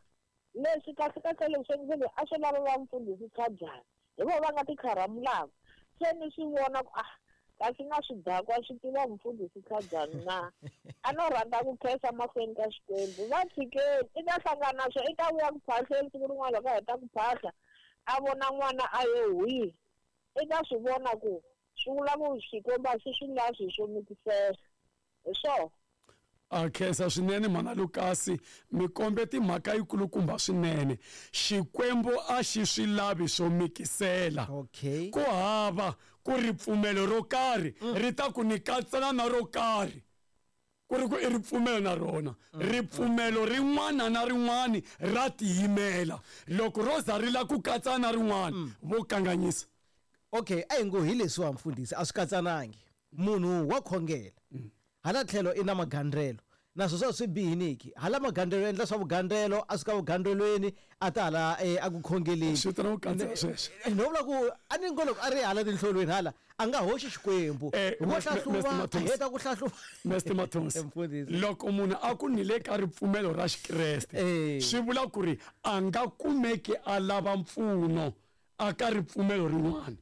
leswi kahle kahle leswi ndzi a swi lava va mfundhisi Khajani hi vona va nga ti kharamulaka. Se ni swi vona ku ah kasi na swidakwa swi tiva mfundhisi Khajani na. A no rhandza ku khensa mahlweni ka Xikwembu. Va tshikeni i ta hlangana na swo i ta vuya ku phahleni siku rin'wana loko a heta ku phahla a vona n'wana a ye hwihi i ta swi vona ku swi vula ku Xikwembu a xi swi lavi swo mikisela hi swona. A khensa swinene mana Lucas, mi kombe timhaka yikulukumba swinene. Xikwembu a xi swi lavi swo mikisela. Okay. Ku hava ku ripfumelo ro karhi ri ta ku ni katsana na ro karhi ku ri ku i ripfumelo na rona. Ripfumelo rin'wana na rin'wana ra tiyimela. Loko ro za ri la ku katsana na rin'wana vo kanganyisa. Okay, a hi ngo hi leswiwa mfundhisi a swi katsanangi. Munhu wa khongela hala tlhelo i na magandrelo naswo swa swi bihiniki hala magandrelo endla swa vugandrelo a suka vugandrelweni a ta hala a ku khongeleni swi ta na ku katsa sweswo. No vula ku a ni ngo loko a ri hala tinhlolweni hala a nga hoxi Xikwembu vo hlahluva a heta ku hlahluva. Mister Mathonsi, loko munhu a ku ni le ka ripfumelo ra Xikreste swi vula ku ri a nga kumeki a lava mpfuno a ka ripfumelo rin'wana.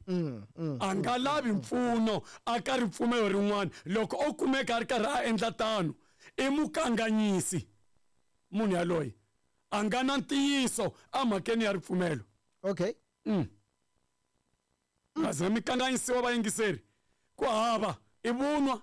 A nga lavi mpfuno a ka ripfumelo rin'wana. Loko o kumeka a ri karhi a endla tano i mukanganyisi munhu yaloye a nga na ntiyiso emhakeni ya ripfumelo. Okay. Mm. Ngaze mi kanganyisiwa vayingiseri ku hava i vunwa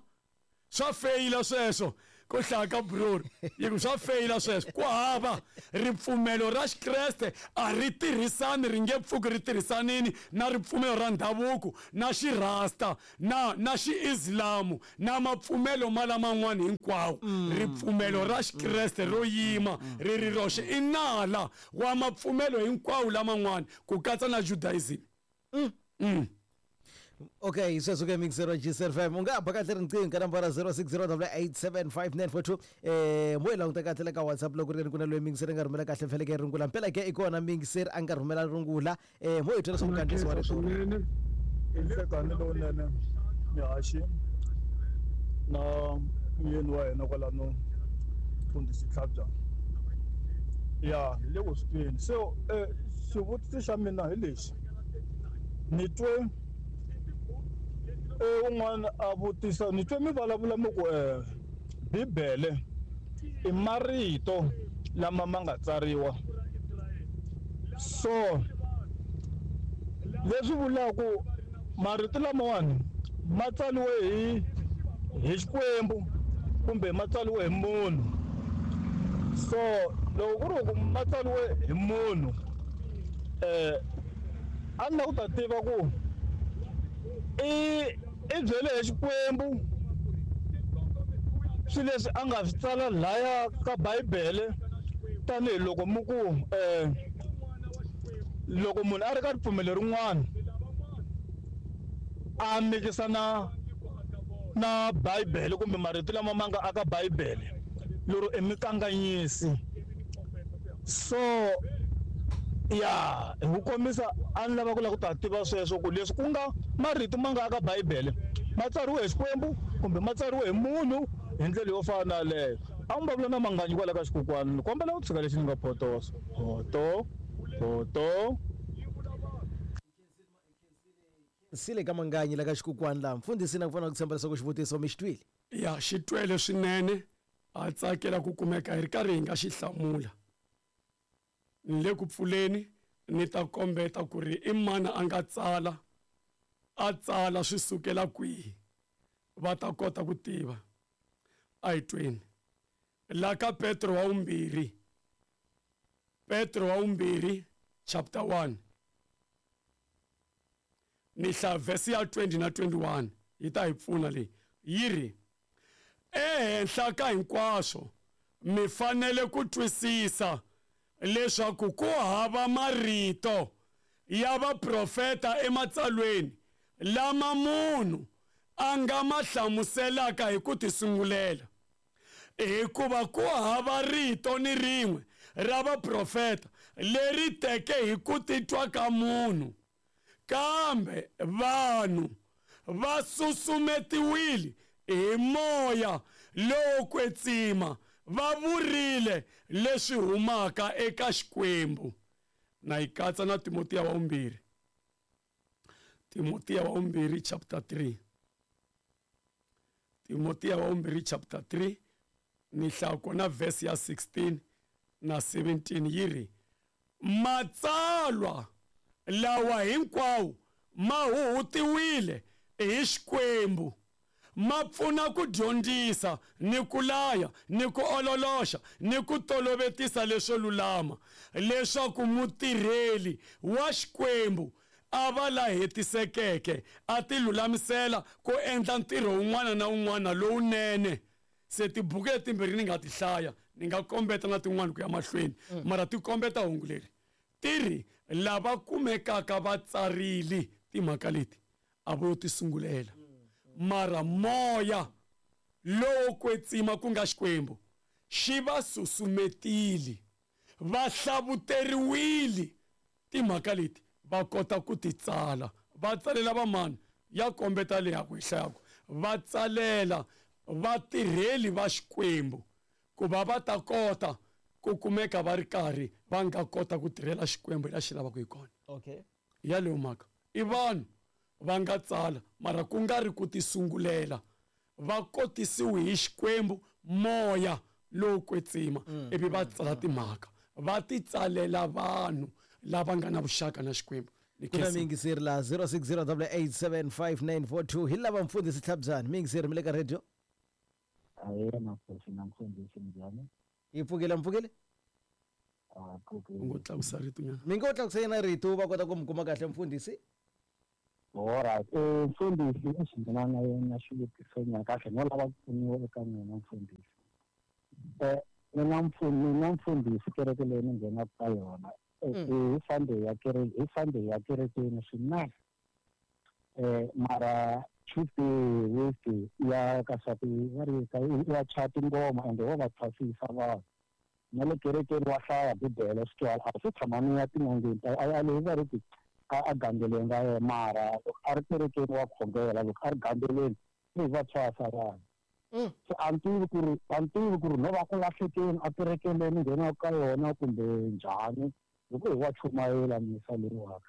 swa feyila sweswo Ko hlaya ka bror yi ku swa feyila sweswo ku hava ripfumelo ra xikreste a ri tirhisani ri nge pfuki ri tirhisanini na ripfumelo ra ndhavuko na xirasta na na xiislamu na mapfumelo ma laman'wana hinkwawo. Ripfumelo ra xikreste ro yima ri ri roxe i nala wa mapfumelo hinkwawo laman'wana ku katsa na Judaism. Mm. Mm. Okay, sweswo ke mixero G S F M u nga ba kahle riqingho ka nambara zero six zero eight seven five nine four two eh mo languta kahle la ka WhatsApp loko ri ku na loyi mixero nga rhumela kahle feleke rungula mpela ke i kona mixero a nga rhumela rungula eh mo hi twela swa mukandisi wa rito swinene nhlekani lowunene mihaxi na muyeni wa hina kwalano mfundhisi Tlhabyana ya hi le ku swi tweni se eh xivutiso xa mina hi lexi ni twe eh un'wana a vutisa ni twe mi vulavula mi ku eh Bibele i marito lama ma nga tsariwa so leswi vulaka marito lamawani ma tsariwe hi hi Xikwembu kumbe ma tsariwe hi munhu so loko ku ri ku ma tsariwe hi munhu eh a ni lava ku ta tiva ku i i byele hi Xikwembu swilo leswi a nga swi tsala laya ka Bibele tanihiloko mi ku eh loko munhu a ri ka ripfumelo rin'wana a mikisa na na Bibele kumbe marito lama ma nga aka Bibele lero i mikanganyisi so ya hi ku kombisa a ni lava ku lava ku ta tiva sweswo ku leswi ku nga marito ma nga aka Bibele ma tsariwe hi Xikwembu kumbe ma tsariwe hi munhu hi ndlela yo fana na yaleyo a n'wi vulavula na Manganyi kwala ka xikokwani ni kombela ku tshika lexi ni nga photosa photo photo sile ka Manganyi la ka xikokwani la mfundhisi na ku fana ku tshemba leswaku xivutiso mi xi twile ya xi twele swinene a tsakela ku kumeka hi ri karhi hi nga xi hlamula ni le ku pfuleni ni ta kombeta ku ri i mani a nga tsala a tsala swi sukela kwihi va ta kota ku tiva a hi tweni la ka Petro wa vumbirhi Petro wa vumbirhi chapter one ni hlaya verse ya twenty na twenty-one yi ta hi pfuna leyi yi ri ehenhla ka hinkwaswo mi fanele ku twisisa leswaku ku hava marito ya vaprofeta ematsalweni lama munhu a nga ma hlamuselaka hi ku tisungulela hikuva ku hava rito ni rin'we ra vaprofeta leri teke hi ku titwa ka munhu kambe vanhu va susumetiwile hi moya lowo kwetsima va vurile leswi humaka eka Xikwembu. Na yi katsa na Timotiya wa vumbirhi Timotiya wa vumbirhi chapter three Timotiya wa vumbirhi chapter three ni hlaya kona verse ya sixteen na seventeen yi ri matsalwa lawa hinkwawo ma huhutiwile hi Xikwembu ma pfuna ku dyondzisa ni ku laya ni ku ololoxa ni ku tolovetisa leswo lulama leswaku mutirheli wa Xikwembu a va la hetisekeke a ti lulamisela ku endla ntirho wun'wana na wun'wana lowunene. Se tibuku letimbirhi ni nga ti hlaya ni nga kombeta na tin'wana ku ya mahlweni mara ti kombeta hungu leri ti ri lava kumekaka va tsarile timhaka leti a vo ti sungulela mara moya lowo kwetsima ku nga Xikwembu xi va susumetile va hlavuteriwile timhaka leti va kota ku ti tsala va tsalela vamani ya kombeta leyi ya ku hi hlayaku va tsalela vatirheli va Xikwembu ku va va ta kota ku kumeka va ri karhi va nga kota ku tirhela Xikwembu la xi lavaka hi kona. Okay, yaleyo mhaka i vanhu va nga tsala mara ku nga ri ku tisungulela va kotisiwe hi Xikwembu moya lowo kwetsima ivi va tsala timhaka va ti tsalela vanhu lava nga na vuxaka na Xikwembu. Kuna mingiseri la zero six zero eight seven five nine four two hi lava mfundhisi Tlhabyana mingiseri mi le ka radio. Ahee makosi na mfundhisi njhani? Hi pfukile mpfukile? Ah, U ngo tlakusa rito nyana. Mi ngo tlakusa yena rito va kota ku mi kuma kahle mfundhisi. Alright, eh mfundhisi lexi ndzi nga na yena xivutiso nyana kahle no lava ku pfuniwa eka n'wina mfundhisi. Eh mina mfundhisi mina mfundhisi kereke leyi ni nghenaka ka yona hi Sunday ya kereke hi Sunday ya kerekeni swinene. Eh mara Tuesday, Wednesday ya ka swa ti va ri ka ya chaya tingoma ende wo va thwasisa vanhu. Na le kerekeni wa hlaya bibele swi twala a swi tshama ni ya tin'angeni ta a leyi va ri ti a a gandzeleni ra yena mara loko a ri kerekeni wa khongela loko a ri gandzeleni i va thwasa vanhu. Se a ni tivi ku ri a ni tivi ku ri no va ku lahlekeni a kerekeni leyi ni nghenaka ka yona kumbe njhani loko hi wa chumayela misa leyiwaka.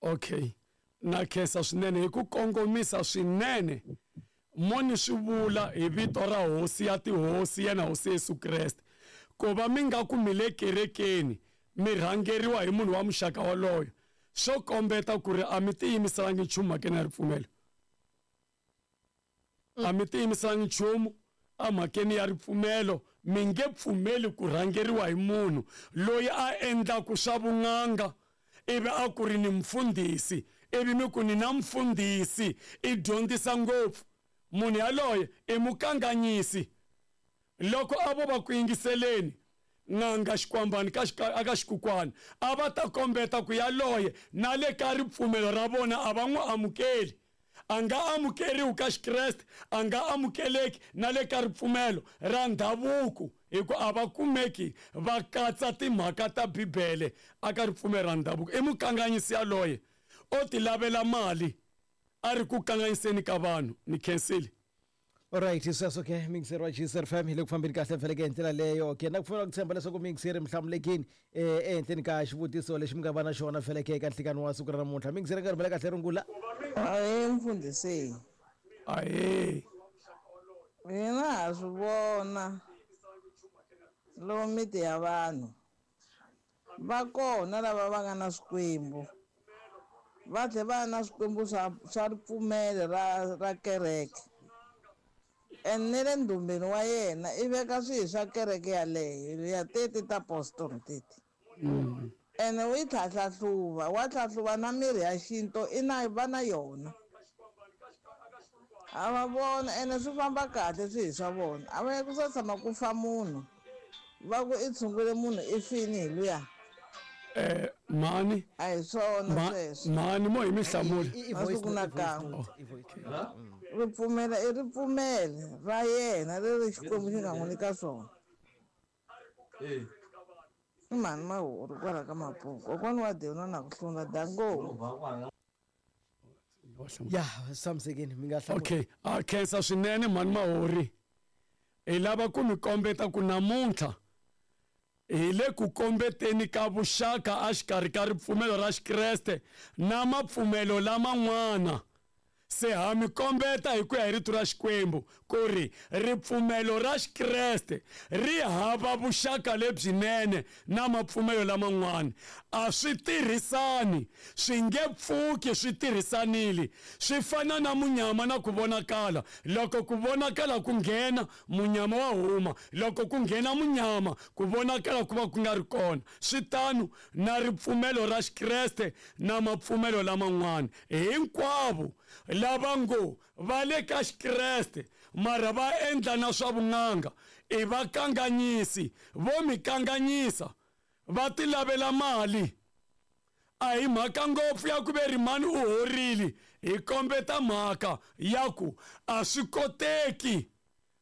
Okay. Na khensa swinene hi ku kongomisa swinene mo ni swi vula hi vito ra hosi ya tihosi yena hosi Yesu Kreste ku va mi nga ku mi le kerekeni mi rhangeriwa hi munhu wa muxaka wolowo swo kombeta ku ri a mi tiyimiselangi nchumu mhakeni ya ripfumelo a mi tiyimiselangi nchumu emhakeni ya ripfumelo mi nge pfumeli ku rhangeriwa hi munhu loyi a endlaku swa vun'anga ivi a ku ri ni mfundhisi ivi mi ku ni na mfundhisi i dyondzisa ngopfu munhu yaloye i mukanganyisi loko a vo va ku yingiseleni n'anga xikwambani ka aka xikukwana a va ta kombeta ku yaloye na le ka ripfumelo ra vona a va n'wi amukeli a nga amukeriwi ka xikreste a nga amukeleki na le ka ripfumelo ra ndhavuko hi ku a va kumeki va katsa timhaka ta bibele aka ripfumelo ra ndhavuko i mukanganyisi yaloye o ti lavela mali a ri ku kanganyiseni ka vanhu ni khensile. Alright, sweswo ke mixer wa G S F M hi le ku fambeni kahle mfeleke hi ndlela leyo ke na ku pfumela ku tshemba leswaku mixer mi hlamulekini ehenhleni ka xivutiso lexi mi nga va na xona feleke eka nhlikani wa siku ra namuntlha mixer nga rhumela kahle rungula. Ahee mfundhisi. Ahee. Mina ha swi vona lomu miti ya vanhu va kona lava va nga na swikwembu va tlhe va na swikwembu swa swa ripfumelo ra ra kereke and ne le ndumbeni wa yena i veka swihi swa kereke yaleyo ya teti ta apostoli teti ene u yi tlhatlhahluva wa tlhahluva na mirhi ya xinto i na va na yona a va vona ene swi famba kahle swihi swa vona a va ku sa tshama ku fa munhu va ku i tshungule munhu i fini hi luya. Eh mani a hi swona sweswo mani mo hi mi hlamula masiku na kan'we ripfumela i ripfumelo ra yena leri Xikwembu xi nga n'wi nyika swona. I mhani Mahori kwala ka Mapuku kokwani wa Deuna na ku hlula dango. Ya samsekeni mi nga hlamula. Okay, a khensa swinene mhani Mahori hi lava ku mi kombeta ku namuntlha hi le ku kombeteni ka vuxaka exikarhi ka ripfumelo ra xikreste na mapfumelo laman'wana se ha mi kombeta hi ku ya hi rito ra Xikwembu ku ri ripfumelo ra xikreste ri hava vuxaka lebyinene na mapfumelo laman'wana a swi tirhisani swi nge pfuki swi tirhisanile swi fana na munyama na ku vonakala loko ku vonakala ku nghena munyama wa huma loko ku nghena munyama ku vonakala ku va ku nga ri kona swi tano na ripfumelo ra xikreste na mapfumelo laman'wana hinkwavo lava ngo va le ka xikreste mara va endla na swa vun'anga i va kanganyisi vo mi kanganyisa va ti lavela mali a hi mhaka ngopfu ya ku ve ri mani u horile hi kombeta mhaka ya ku a swi koteki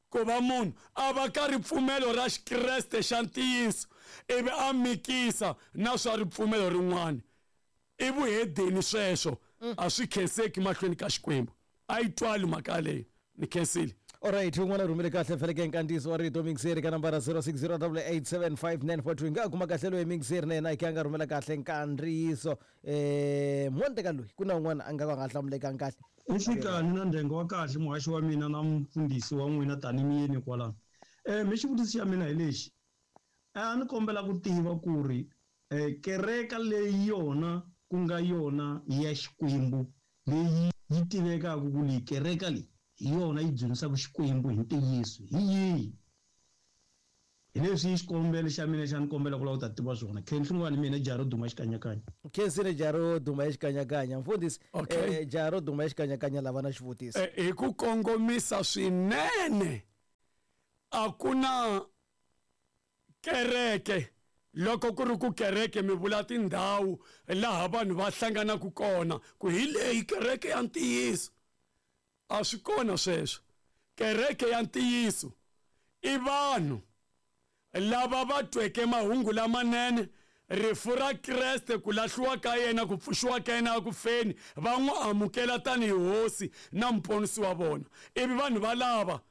ku va munhu a va ka ripfumelo ra xikreste xa ntiyiso ivi a mikisa na swa ripfumelo rin'wana i vuhedeni sweswo a swi khenseki mahlweni ka Xikwembu a yi twali mhaka leyo ni khensile. Alright, un'wana rhumele kahle feleke nkandziyiso wa rito mixeri ka nambara zero six zero eight seven five nine four two nga kuma kahle loyi mixeri na yena hi nga rhumela kahle nkandziyiso eh mondeka loyi ku na un'wana a nga va nga hlamulekanga kahle. Nhlikani na ndhenga wa kahle muhaxi wa mina na mfundhisi wa n'wina tani miyeni kwalano. Eh mi xivutiso xa mina hi lexi a ni kombela ku tiva ku ri eh kereka leyi yona ku nga yona ya Xikwembu leyi yi tivekaka ku leyi kereka leyi hi yona yi dzunisaka Xikwembu hi ntiyiso hi yihi? Hi leswi xikombelo xa mina xa ni kombela ku lava ku ta tiva swona. Khenhlungwani mina Jaro Duma Xikanyakanya. Khensile Jaro Duma Xikanyakanya. Mfundhisi, Okay. eh, Jaro Duma Xikanyakanya lava na xivutiso. Eh, hi ku kongomisa swinene, a ku na kereke. Loko ku ri ku kereke mi vula tindhawu laha vanhu va hlanganaka kona ku hi leyi kereke ya ntiyiso, a swi kona sweswo. Kereke ya ntiyiso i vanhu lava va tweke mahungu lamanene, rifu ra Kreste, ku lahliwa ka yena, ku pfuxiwa ka yena eku feni, va n'wi amukela tanihi hosi na muponisi wa vona. Ivi vanhu valava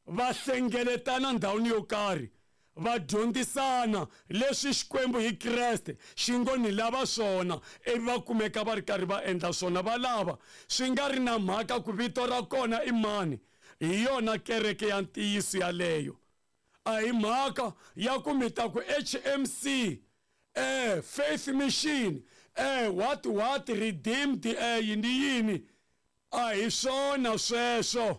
va hlengeletana ndhawini yo karhi, va dyondzisana leswi Xikwembu hi Kreste xi ngo ni lava swona, ivi va kumeka va ri karhi va endla swona. Va lava swi nga ri na mhaka ku vito ra kona i mani, hi yona kereke ya ntiyiso yaleyo. A hi mhaka ya ku mi ta ku H M C, eh, Faith Mission, eh, what what Redeemed, eh, yini yini, a hi swona sweswo.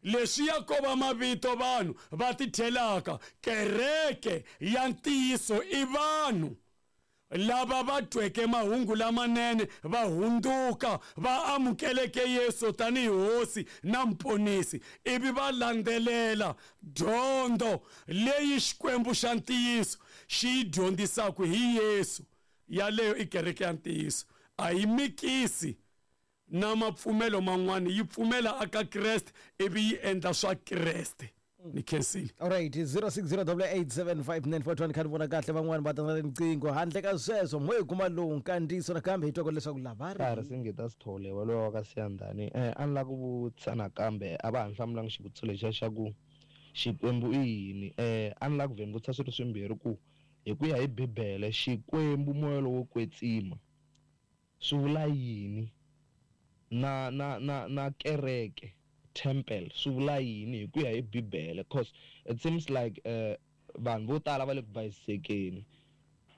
Leswi ya ko va mavito vanhu va ti thelaka. Kereke ya ntiyiso i vanhu lava va tweke mahungu lamanene, va hundzuka, va amukeleke Yesu tanihi hosi na muponisi, ivi va landzelela dyondzo leyi Xikwembu xa ntiyiso xi yi dyondzisaka hi Yesu. Yaleyo i kereke ya ntiyiso. A yi mikisi na mapfumelo man'wana, yi pfumela aka Kreste ivi yi endla swa Kreste. Ni khensile. All right, zero six zero double eight seven five nine four one. Kha ni vona kahle van'wani va ta na riqingho. Handle ka sweswo mo hi kuma lowu nkandziyiso nakambe hi twa leswaku lava ri Ka ri Singita Sithole wa lowa ka Siyandhani. Eh, a ni lava ku vutisa nakambe, a va ha ni hlamulanga xivutiso lexiya xa ku Xikwembu i yini. Eh, a ni lava ku vhe ni vutisa swilo swimbirhi ku hi ku ya hi Bibele Xikwembu moya lowo kwetsima swi vula yini, na na na na kereke temple swi vula yini hi ku ya hi Bibele? Cause it seems like eh vanhu vo tala va le ku bayisekeni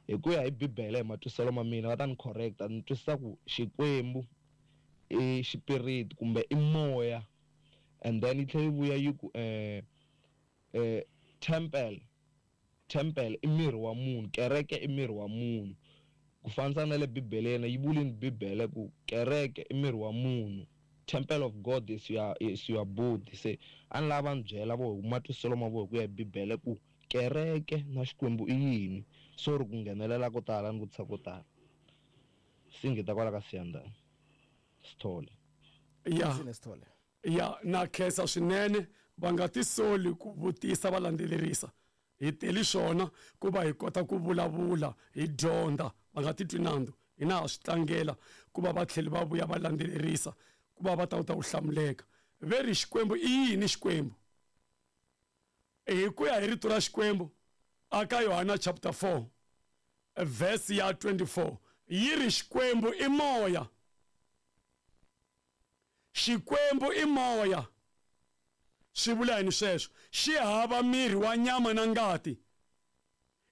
hi ku ya hi Bibele. Hi matwisiselo ma mina va ta ni correcta, ni twisisa ku Xikwembu i xipiriti kumbe i moya, and then yi tlhela yi vuya yi ku eh eh temple temple i miri wa munhu, kereke i miri wa munhu. Ku fanisa na le Bibeleni, yi vulini Bibele ku kereke i miri wa munhu, temple of God is your, is your body. Se a ni lava ni byela vo hi matwisiselo ma vo hi ku ya hi Bibele ku kereke na Xikwembu i yini. Sorry ku nghenelela ko tala ni vutisa ko tala. Singita kwala ka Siyandhani Sithole. Ya. Sithole. Ya, na khensa swinene. Va nga tisoli ku vutisa, va landzelerisa. Hi teli swona ku va hi kota ku vulavula, hi dyondza. Va nga titwi nandzu, hina ha swi tlangela ku va va tlhela va vuya va landzelerisa ku va va ta kota ku hlamuleka. Ve ri Xikwembu i yini Xikwembu? Hi ku ya hi rito ra Xikwembu aka Yohana chapter four verse ya twenty-four, yi ri Xikwembu i moya. Xikwembu i moya. Swi vula yini sweswo? Xi hava miri wa nyama na ngati.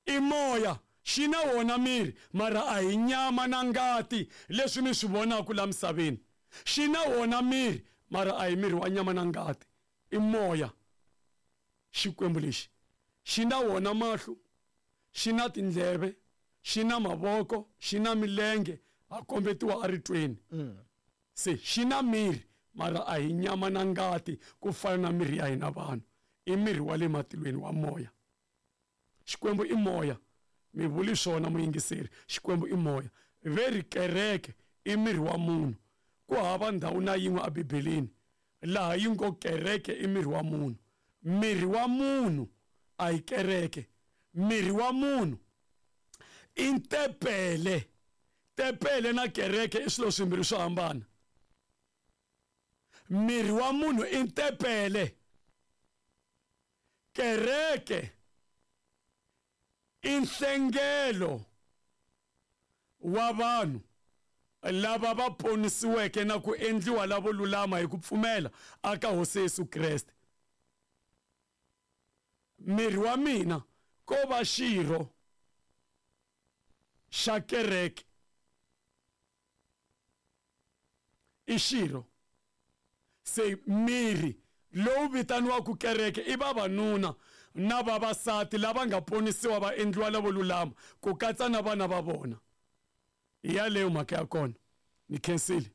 I moya, xi na wona miri, mara a hi nyama na ngati leswi mi swi vonaka la misaveni. Xi na wona miri, mara a hi miri wa nyama na ngati. I moya. Xikwembu lexi xi na wona mahlo, xi na tindleve, xi na mavoko, xi na milenge, a kombetiwa eritweni. Se xi na miri, mara a hi nyama na ngati ku fana na miri ya hina vanhu. I miri wa le matilweni wa moya. Xikwembu i moya. Mi vuli swona muyingiseri, Xikwembu i moya. Ve ri kereke i miri wa munhu. Ku hava ndhawu na yin'we eBibeleni laha yi ngo kereke i miri wa munhu. Miri wa munhu a hi kereke. Miri wa munhu i tempele. Tempele na kereke i swilo swimbirhi swo hambana. Miri wa munhu i tempele. Kereke i nhlengelo wa vanhu lava va ponisiweke na ku endliwa lavo lulama hi ku pfumela aka Hosi Yesu Kreste. Miri wa mina ko va xirho xa kereke. I xirho. Se miri lowu vitaniwaka kereke i vavanuna na vavasati lava nga ponisiwa va endliwa lavo lulama, ku katsa na vana va vona. Hi yaleyo mhaka ya kona. Ni khensile.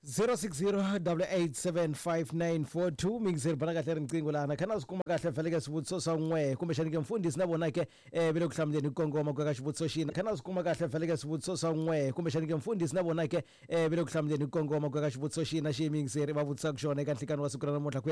zero six zero double eight seven five nine four two. Mingizeri bana kahle riqingho lana khana swi kuma kahle vhele ka swivutiso swa n'we kumbexani ke mfundhisi na vona ke eh ve le ku hlamuleni hi kongoma ku ya ka xivutiso xina. Khana swi kuma kahle vhele ka swivutiso swa n'we kumbexani ke mfundhisi na vona ke eh ve le ku hlamuleni hi kongoma ku ya ka xivutiso xina xi mingizeri va vutisaka xona eka nhlikani wa siku ra namuntlha ku ya.